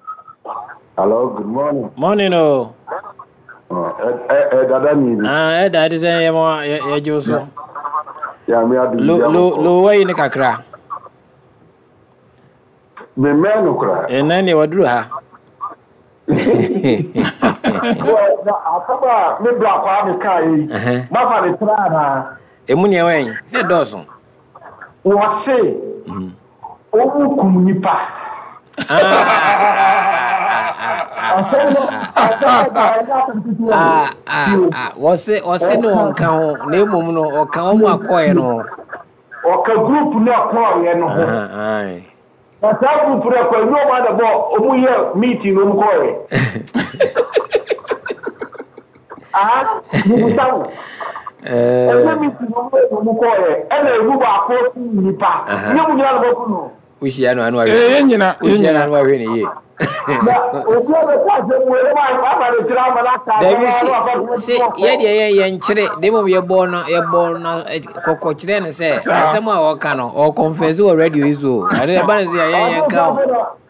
Hello, good morning. Morning o. Ɛ ɛ dada ni bi. Ah, ɛda ɛde sɛ yɛ mo yɛ yɛ gye so. Ya mi adu. Lo lo lo wayi ne kakra. Me mɛ no kora. Ɛnna ne waduru ha. Wɔ na asɛm a me bra kwa me kaa yi. Mafa ne tra na. Emu nea wɛn sɛ dɔɔso. Wɔse. Omu kum nipa. Asɛm no asɛm no ɛnyɛ asɛm ketewa o. Ah ah ah wɔse wɔse ne wɔnka ho na emom no ɔka wɔn akɔɛ no ho. Ɔka group no akɔɛ no ho. Aye. Na saa group no akɔɛ nyɛ ɔmo adabɔ ɔmo yɛ meeting na ɔmo kɔɛ. Ah, bibusa wo. Ɛnyɛ meeting na ɔmo yɛ na ɔmo kɔɛ ɛna emu baako nipa. Nyɛ mu nyinaa na bɛku no. Wohyia no ano ahwɛ. Ee nyina. Wohyia no ano ahwɛ ne yie. Na obi a bɛka asɛm wei na wafa ne kyerɛ ama no aka Dabi si si yɛ deɛ yɛ yɛ nkyere de mmom yɛbɔ no yɛbɔ no kɔkɔ kyerɛ no sɛ asɛm a ɔka no ɔconfess wɔ radio yi so. Ɛno ɛba no sɛ yɛ yɛ nka ho.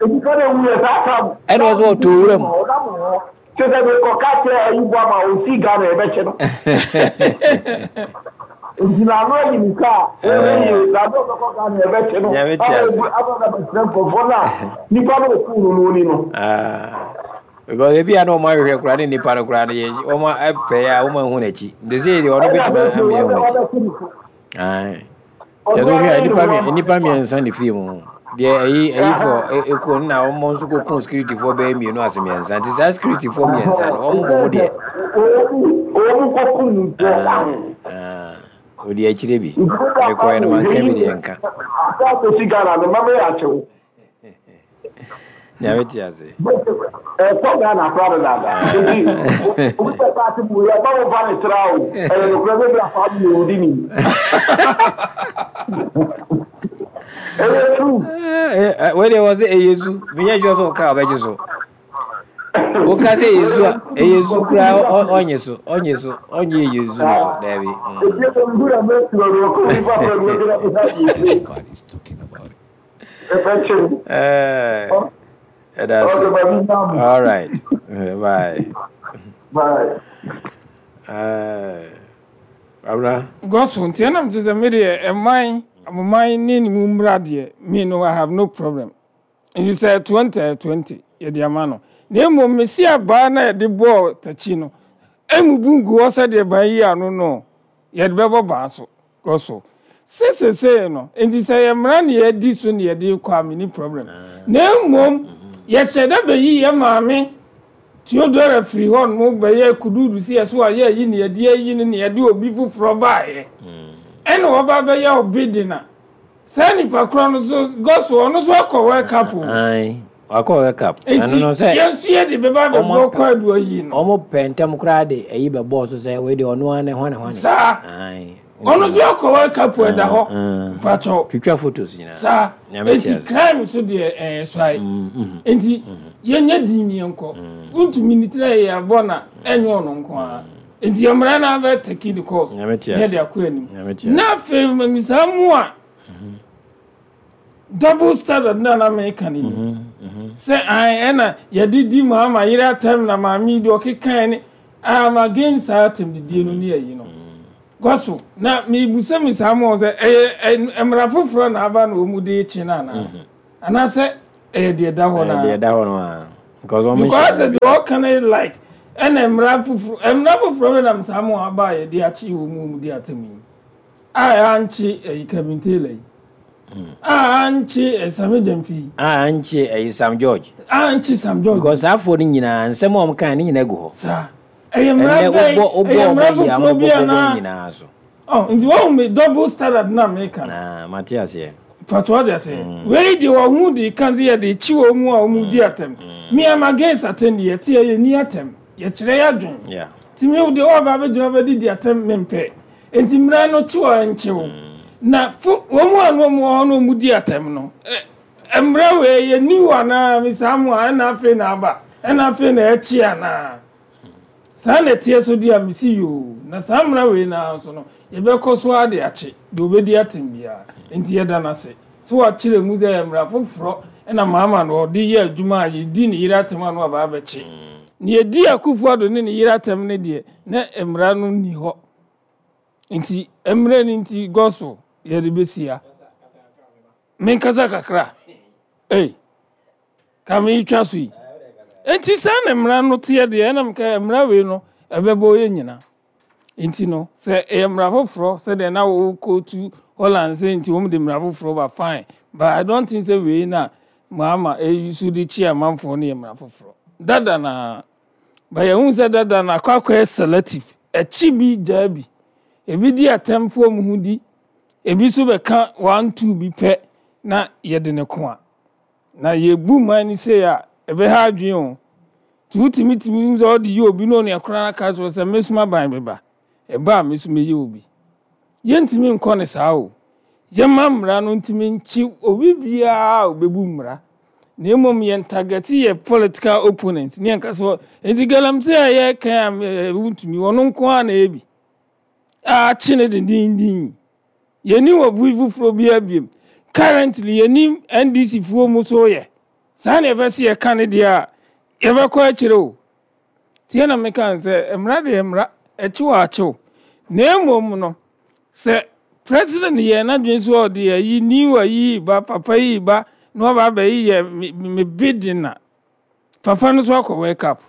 Nnipa na ewu yɛ saa kam. Ɛna ɔsɛ ɔtɔ wura mu. Kyerɛ sɛ mekɔka kyerɛ ayi bɔ ama ɔsi Ghana yɛbɛkyɛ no. Nti na ano ayi ne kaa ɛyɛ na ano ɔbɛkɔ Ghana yɛbɛkyɛ no. Nyame te ase. Ama na bɛkyerɛ nkurɔfoɔ no a nipa no ɔkuu no no ni no. Because ebi a na ɔmo ahwehwɛ koraa ne nipa no koraa no yɛ ɔmo apɛ a ɔmo ahu n'akyi. Nti sɛ deɛ ɔno bɛtumi ama ahu n'akyi. Aye. Kyerɛ sɛ wohwɛ a nipa nipa mmiɛnsa ne fie mu. Deɛ ɛyi ɛyi fɔ ekuo no na wɔn nso kɔkun securityfoɔ bɛyɛ mmienu ase mmiɛnsa nti saa securityfoɔ mmiɛnsa no wɔn bɔ mu deɛ. Wɔn kɔkun nkuo. Odi akyire bi. Mekɔɛ no manka bi deɛ nka. Asa akɔsi Ghana no mama yɛ akyɛw. Nyame te ase. Ɛkɔ Ghana koraa dadaada. Nti obi bɛ taa te mu yɛ ba wo ba ne tra o. Ɛyɛ nokorɛ bɛ bi afa mi yɛ odi ni. Ɛyɛ true. Wei deɛ wɔ sɛ ɛyɛ zu. Menyɛ sure sɛ ɔka a ɔbɛgye so. Woka sɛ ɛyɛ zu a ɛyɛ zu koraa ɔnye so ɔnye so ɔnye ɛyɛ zu no so daabi. Ɛda ase. All right. Bye. Bye. Abra. Gospel nti ɛnam te sɛ me deɛ ɛman amoman ne ne mu mmra deɛ me no I have no problem. Nti sɛ twenty twenty yɛde ama no. Na mmom mesi abaa na yɛde bɔɔ takyi no emu bu ngu hɔ sɛdeɛ ban yi ano no yɛde bɛbɔ baa so gospel. Sesesei no nti sɛ yɛ mmara ne yɛdi so ne yɛde kɔ a me ni problem. Na mmom yɛhyɛ dɛ bɛyi yɛ maame Theodora firi hɔ no bɛyɛ kududu si yɛ so a yɛ yi ne yɛde ayi no ne yɛde obi foforɔ baeɛ. Ɛna wɔba bɛyɛ obi de na saa nipa korɔ no so gospel ɔno so akɔ World Cup o. Aye. Wakɔ World Cup. Nti yɛn nso yɛ de bɛba bɛbɔ kɔ adu ayi no. Ɔmo pɛ ntɛm koraa de ɛyi bɛbɔɔ so sɛ wei de ɔno ara ne hwane hwane. Saa. Aye. Ɔno nso akɔ World Cup ɛda hɔ. Mpakyɛw. Twitwa photos nyinaa. Saa. Nti crime so deɛ ɛyɛ swae. Nti yɛnyɛ din ni yɛnkɔ. Wontumi ne tiri yɛ abɔ na ɛnyɛ ɔno nko ara. Nti yɛn mmara na abɛ take the course. Yɛ de akɔ anim. Na afei mmisa mu a double standard na na meka ne ni. Sɛ an ɛna yɛde di Mahama yere atɛm na maame yi de ɔkekae ne I am against saa atɛmdidie no ne ayi no. Gospel na mebusa mi saa ma sɛ ɛyɛ mmara foforɔ na aba na wɔn de kye no anaa anaasɛ ɛyɛ deɛ da hɔ naa deɛ da hɔ no a because wɔn because deɛ ɔka no like ɛna mmara foforɔ mmara foforɔ bɛ nam saa ma aba a yɛde akye wɔn mu wɔn de atɛm yi a yɛankye ɛyi Kevin Taylor yi a ankye Sammy Gyamfi yi a ankye ɛyi Sam George a ankye Sam George because saa afoɔ no nyinaa nsɛm a wɔn kan ne nyinaa gu hɔ saa ɛyɛ mmara bɛn ɛyɛ mmara foforɔ bi anaa ɔ nti wɔn mi double standard na meka na mate aseɛ pàtó ɔde aseɛ wei de wɔn ho de kan sɛ yɛde kyi wɔn mu a wɔn di atɛm me am against atɛm deɛ yɛte yɛ ni atɛm yɛkyerɛ yɛ adwene ti mi de wɔn aba abɛgyina bɛdi di atɛm mi mpɛ nti mmara no kyi wɔn nkyew na fo wɔn mu a wɔn wɔ hɔ na wɔn di atɛm no ɛ mmara wei yɛ new anaa misa mu a ɛna afei na aba ɛna afei na ɛkyi anaa saa na ɛteɛ so di a misi yoo na saa mmara wei na nso no yɛbɛkɔ so ade akye deɛ obɛdi atɛm biara nti yɛda n'ase so wakyerɛ mu sɛ mmara foforɔ ɛna maama no ɔde yɛ adwuma a yɛdi ne yere atɛm a no aba abɛkye ne yɛdi Akufo-Addo ne ne yere atɛm no deɛ na mmara no nni hɔ nti mmerɛ no nti Gospel yɛde bɛsia menkasa kakra ei ka meetwa so yi nti saa na mmara no teɛ deɛ ɛnam ka mmara wei no ɛbɛbɔ yɛ nyina nti no sɛ ɛyɛ mmara foforɔ sɛdeɛ na wɔkɔtu Holland sɛ nti wɔn de mmara foforɔ ba, fine, but I don't think sɛ wei na Mahama eyi so de kyi amanfoɔ no yɛ mmara foforɔ dada na ba yɛn sɛ dada na akɔ akɔyɛ selective ɛkyi bi gyaa bi ebi di atɛmfoɔ mu ho di ebi nso bɛka one two bi pɛ na yɛde ne ko a na yɛbu man ni sɛ a ɛbɛha adwene o nti wotumi tumi sɛ ɔde yɛ obi na ɔne akora aka so sɛ mesoma ban bɛba ɛba a meso mɛyɛ obi yɛntumi nkɔ ne saa o yɛma mmara no ntumi nkyi obi biara a obɛbu mmara na mmom yɛn target yɛ political opponents ne yɛn kasa nti galamsey a yɛka a wontumi ɔno nko ara na ɛyɛ bi a akye ne dendenden yɛni wɔ bu foforɔ bi abiem currently yɛnim N D C foɔ mu so yɛ saa na yɛbɛsi yɛka ne deɛ a yɛbɛkɔ akyire o tie na meka sɛ mmara deɛ mmara akyiw akyew na mmom no sɛ president yɛ n'adwene so ɔde ayi new ayi ba papa yi ba na waba abɛyi yɛ me bidi na papa no so akɔ wake up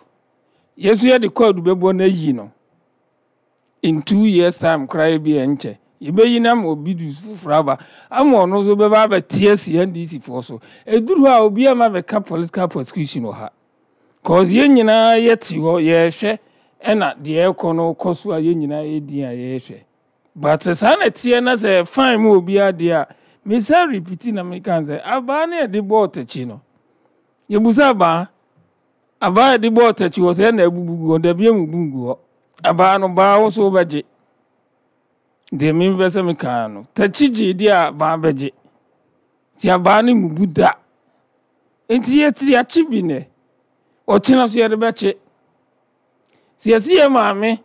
yɛso yɛde code bɛbɔ n'ayi no in two years time koraa bi ɛnkyɛ yɛbɛyi na ma obi du foforɔ aba ama ɔno nso bɛba abɛte asi N D C foɔ so eduru hɔ a obi ama bɛka political persecution wɔ ha cause yɛn nyinaa yɛte hɔ yɛrehwɛ ɛna deɛ ɛkɔ no kɔ so a yɛn nyinaa yɛdi a yɛrehwɛ but saa na teɛ na sɛ fine mu obiara deɛ a mesa repeat na meka sɛ abaa ne yɛde bɔɔ tɛkyi no yɛbusa abaa abaa yɛde bɔɔ tɛkyi wɔ sɛ ɛna abubu gu hɔ dabi emu bu ngu hɔ abaa no baa wo so wobɛgye deɛ mempɛ sɛ meka no tɛkyi gye deɛ a baa bɛgye nti abaa no mubu da nti yɛte yɛakye bi nɛ ɔkyena so yɛde bɛkye sɛ yɛsi yɛ maame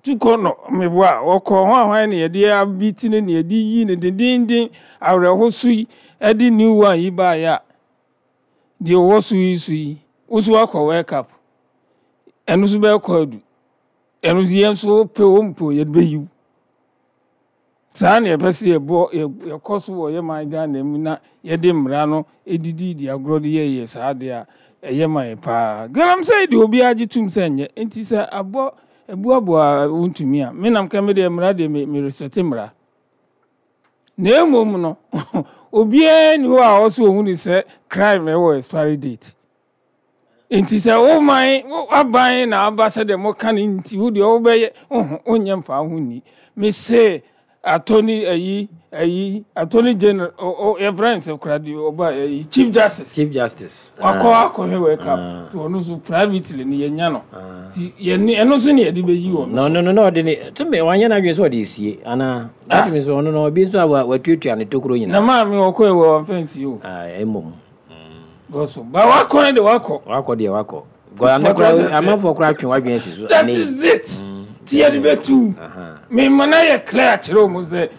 tukɔ no meboa a wɔkɔ ho ahwan ne yɛde abi ti ne ne yɛde yi ne dendenden awerɛho so yi ɛde new one yi baeɛ a deɛ ɔwɔ so yi so yi woso akɔ wake up ɛno nso bɛkɔ adu ɛno nso yɛn nso pɛ o mpo yɛde bɛyiw saa na yɛpɛ sɛ yɛbɔ yɛkɔ so wɔ yɛ man Ghana mu na yɛde mmara no edidi di agorɔ de yɛyɛ saa deɛ a ɛyɛ ma yɛ paa galamsey deɛ obiara gye tum sɛ nyɛ nti sɛ abɔ ebuaboa wontumi a menam ka me deɛ mmara deɛ me me respect mmara na emom no obiara ni hɔ a ɔso ohun ni sɛ crime ɛwɔ expiry date nti sɛ wo man aban na aba sɛdeɛ moka no nti wo deɛ wobɛyɛ woho wonyɛ mfa ho nni mese attorney ayi ayi attorney general yɛfrɛ no sɛ kora deɛ ɔba ayi Chief Justice. Chief Justice. Wakɔ akɔhwɛ World Cup nti ɔno nso privately no yɛnya no nti yɛne ɛno nso ne yɛde bɛyi wɔ no. No no no ɔde ne tumi wanyɛ n'adwene sɛ ɔde esie anaa atumi sɛ ɔno no obi nso a watuatua ne tokuro nyinaa. Na maame ɔkɔ ɛwɔ wamfa nsie o. Mmom. Gɔso ba wakɔ ne de wakɔ. Wakɔ deɛ wakɔ amanfoɔ koraa twe wadwene asi so. That is it ti yɛde bɛtu mema na yɛ clear kyerɛ mu sɛ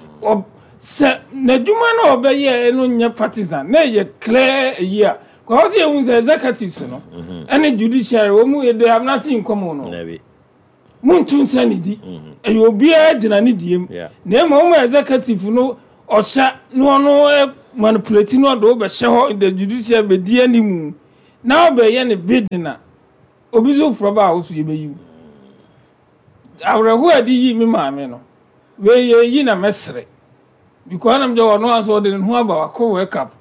sɛ n'adwuma no a ɔbɛyɛ no nyɛ partisan na ɛyɛ clear ayi a Kò sɛ yɛhu sɛ executives no ɛne judiciary wɔn mu, they have nothing in common no. Dabi. Muntu nsa ne di, ɛyɛ obiara gyina ne die mu. Yeah. Na ema wɔn executive no ɔhyɛ na ɔno ɛ manipulate na ɔde ɔbɛhyɛ hɔ, the judiciary bɛdi anim na ɔbɛyɛ ne bidding na obi nso forɔ ba a woso yɛbɛyi wo. Awerɛhoɔ a ɛde yi me maame no wei yɛ yi na mɛsere because ɛnam gye ɔno aso ɔde ne ho aba wakɔ World Cup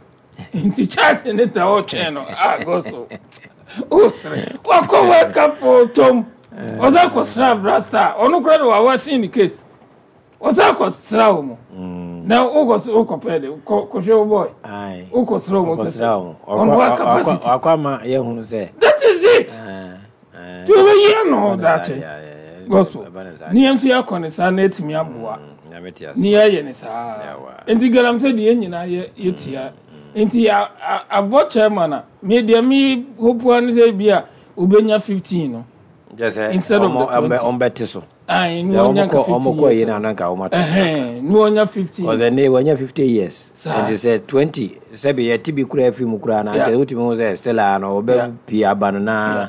nti charge ne ta ɔtwɛn no a gospel ɔsere wakɔ World Cup ɔtɔm ɔsɛ kɔsra brasta ɔno kora de wawa sin ne case ɔsɛ kɔsra wɔ mu na wokɔ wokɔpɛ de kɔ kɔhwɛ wo boy. Aye. Wokɔsra wɔ mu sɛ Ɔkɔsra wɔn. ɔno wa capacity. Wakɔ ama yɛhunu sɛ That is it. ah, ah, Tí o bɛ yi ano ɛba ne saa daakye deɛ, yeah, gospel ɛba ne saa ne yɛn nso yɛakɔ ne saa na etumi aboa. Mm, Nyame te ase. Ne yɛyɛ ne saa. Yawa. Nti galamsey deɛ, yɛn nyinaa yɛ yɛtia nti a- a- abɔ chairman a me deɛ me hope ano sɛ bi a obenya fifteen no Kyerɛ sɛ instead of the ɔmo- ɔmbɛ- twenty. ɔmbɛte so. Ayi ne Sɛ wɔnya ɔmo nka kɔ fifteen ɔmo kɔ yi years. na ananka ɔmo ate so. Ɛhɛn, ne wɔnya fifteen. Ɔsɛ ne wɔnya fifty years. Saa. Nti sɛ twenty sɛbi yɛte bi kura afi mu kura na Yeah. nkyɛ wotumi hu sɛ still a no ɔbɛ pii aba no na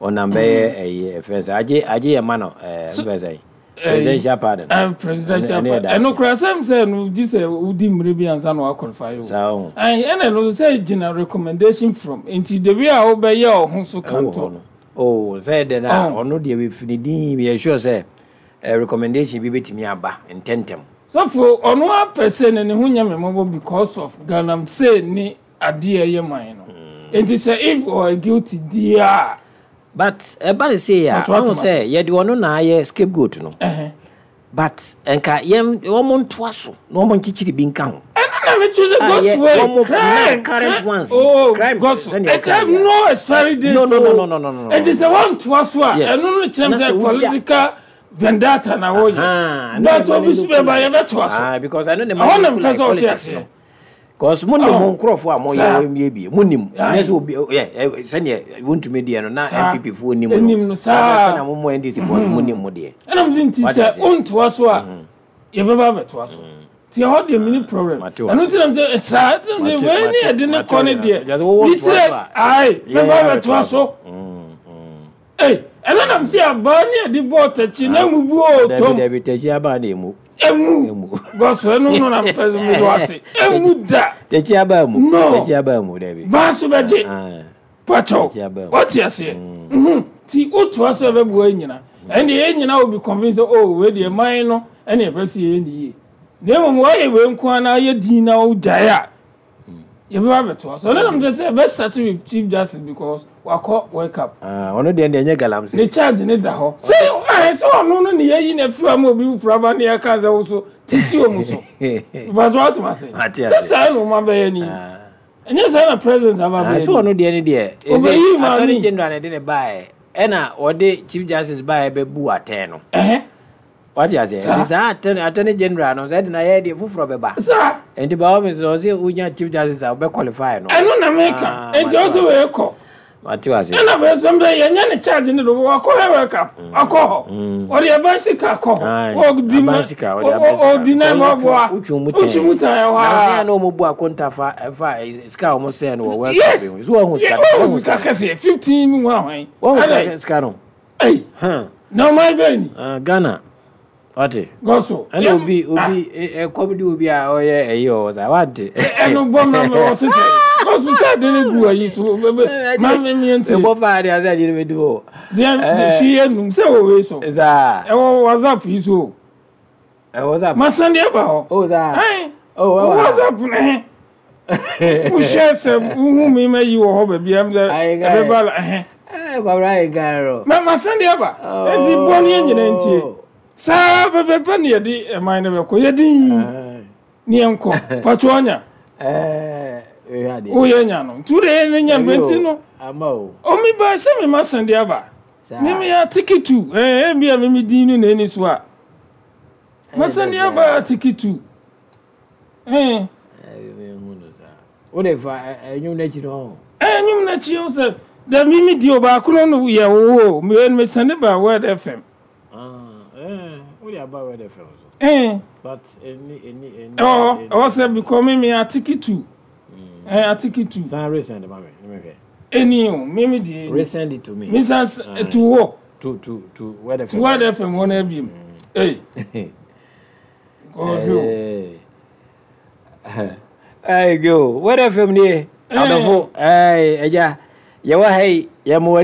ɔnam bɛyɛ ɛyi ɛfɛ sɛ agye agye yɛ ma no ɛɛ mfɛ sɛ presidential pardon. ɛn presidential Ɛno- ɛno yɛ pardon, daakye. ɛno kora sɛm sɛ no gye sɛ wodi mmere bi ansa na waqualify o. Saa ho. Ɛn ɛna ɛno nso sɛ gyina recommendation from nti the way a wobɛyɛ ɔho so Ɛwɔ hɔ kanto no oh sɛ dɛ na Oh. ɔno deɛ wefi ne din yɛ sure sɛ eh, recommendation bi bɛtumi aba ntɛntɛm. Sɔfo ɔno apɛ sɛ ne ne ho nyɛ me mmɔbɔ because of galamsey ne adeɛ a ɛyɛ man no nti sɛ if ɔyɛ guilty di a But ɛba ne sei a Ɔto ato ɔho sɛ yɛde ɔno na ayɛ scapegoat no, ɛhɛn but nka yɛn wɔn ntoa so na wɔn nkyekyere bi nka ho. Ɛno na me choose Ah, yeah, God's way. wɔn mo- Crime now current crime- ones, oh crime, gospel sɛnea it ɔka have yɛ. no expiry date. No, no, no, o. no, no, no, no, no. Nti sɛ wɔntoa so a Yes. ɛno no kyerɛ Na m sɛ sɛ wogya- political vendetta na Aha, wɔyɛ na but ɛma obi no so look bɛba like- yɛbɛtoa so. Ah, because ɛno ne ma Ɛhɔ no na look mpɛ like sɛ ɔte politics aseɛ. no, because mo nim Oh. mo nkurɔfoɔ a moyɛ Saa. wɔ miebie mo nim Aye. nyɛ sɛ obi ɛ ɛ sɛneɛ wontumi deɛ no na Saa. N P P foɔ nim Nim no no, saa. saa na mo mo N D C foɔ so mo nim mo deɛ. Ɛna mede nti Wate sɛ aseɛ. wontoa so a yɛbɛba abɛtoa so nti ɛhɔ deɛ mini problem. Mate wo Ɛno ase. nti nam sɛ saa nti nam Mate- sɛ wei ne mate- yɛde ne mate kɔ ne wo deɛ nyinaa. Sɛ wowɔ ne ntoa so tire a, ae yɛn bɛba yɛbɛtoa abɛtoa so. so. Ei, ɛno nam sɛ abaa ne yɛde bɔɔ takyi na mubu o Dabi. Tom. Dabi, tɛkyi aba na emu. Emu. Emu. Gɔso ɛno no na mpɛ sɛ mede ase emu da. Tɛkyi aba mu. No. Tɛkyi aba mu, dabi. Baa so bɛgye. Ah, pakyɛw. Tɛkyi aba mu. Wɔte aseɛ. Mhm. Nti wotoa so a ɛbɛboa yɛn nyina ɛnde yɛn nyina will be convinced sɛ oh, wei deɛ man no ɛne yɛpɛ sɛ yɛyɛ ne yie na mmom wɔyɛ wei nko ara na yɛ din na wogyae a yɛbɛba abɛtoa so. Ɛno nam kyerɛ sɛ yɛbɛ start with Chief Justice because wakɔ World Cup. Ah, ɔno deɛ deɛ ɛnyɛ galamsey. Ne charge ne da hɔ sɛ ɛɛ sɛ ɔno no ne yɛyi na firi ama obi fura aba ne yɛka sɛ wo so ti si wɔ mu so ìbàtò wàtò ase. Ate sɛ ase. saa na ɔmo abɛyɛ ni ɛnyɛ saa na president aba Ah, abɛyɛ sɛ ni. ɔno deɛ ne deɛ Ɔbɛyi maame. Attorney General na ɛde ne baeɛ ɛna ɔde Chief Justice baeɛ bɛbu atɛn no. Ɛhɛ. Wate aseɛ? Saa. Nti saa attorney attorney General no sɛ ɛde na yɛ deɛ foforɔ bɛba. Saa. Nti ba wɔn sɛ ɔsɛ wonya Chief Justice a wobɛ qualify no. Ɛno na meka. Ah, Nti mate ɔsɛ wase. wei kɔ Mate wase. ɛna bɛyɛ sɛ mbɛ yɛnyɛ ne charge ne do wakɔ hɛ World Cup akɔ hɔ ɔde ɛban sika akɔ hɔ. Aye, Ɔdi ma aban sika, ɔde aban sika. ɔdi nan ma ɔboa. Wotwe mu tɛn. Wotwe mu tɛn ɛhɔ Na sɛ a na ɔmo bu akonta fa ɛfa eh, sika a ɔmo sɛɛ no wɔ World Cup Yes. yi ho. So wɔn sika no, wɔn wɔn sika kɛseɛ fifteen mu ahwan. Wɔn Ɛdɛ, sika sika no. ɛyi Huh. na ɔman bɛyɛ ni. Ah, Ghana. Wate. Gɔso. Ɛna obi obi ɛkɔm di obi a ɔyɛ ɛyi ɔwɔ sa wante. Ɛnu bɔ ma mi wɔ sisan gɔso sɛ ɛde ne gu ayi so bɛbɛ ma mi mi nti. Ɛbɔ fa adi ase agyere bɛ di hɔ. Deɛ si yɛ num sɛ wɔ wei so. Saa. Ɛwɔ WhatsApp yi so o. Ɛwɔ sa. Masan deɛ ba hɔ. O saa. Ɛn. O ɛwɔ ha. WhatsApp ne wohyɛ sɛ wohu mi ma yi wɔ hɔ baabi ɛm sɛ Ayi, guy. ɛbɛba la ɛhɛn. Ɛɛ kwabra ayi kan ma masan deɛ ba nti bɔ ne yɛ nyina ntie saa pɛpɛpɛ ne yɛde ɛman no bɛkɔ yɛde yi ne yɛnkɔ patro ɔnya. Ɛɛ ɛhwɛ adeɛ. Woyɛ nya no nti wode yɛ ne nya no nti no. Ama o. Ɔmi ba sɛ me ma san deɛ aba. Saa. Me me atiki tu ɛɛ ebi a me me din no na ɛni so a masan deɛ aba atiki tu ɛɛ. Ɛɛ mi hu no saa. O de fa ɛnwom n'akyi no. Ɛɛ nwom n'akyi o sɛ dɛ mi mi di o baako no no yɛ wo o mi mi sɛne ba Word F M. Ah ɛɛ o de aba Word F M so. Ɛɛ. But ɛni ɛni ɛni. Ɛwɔ hɔ ɛwɔ sɛ because mi mi atiki tu. Eh, article two. San resend ma me, ne mehwɛ. Ɛni o, mimi deɛ. Resend it to me. Me san to wɔ. To to to Word F M. To Word F M hɔ na ebiem. Ei. Kɔhwɛ o. Ɛy go Word F M nie. Adɔfo, ɛy ɛgya. Yɛwɔ ha yi, yɛma w'ani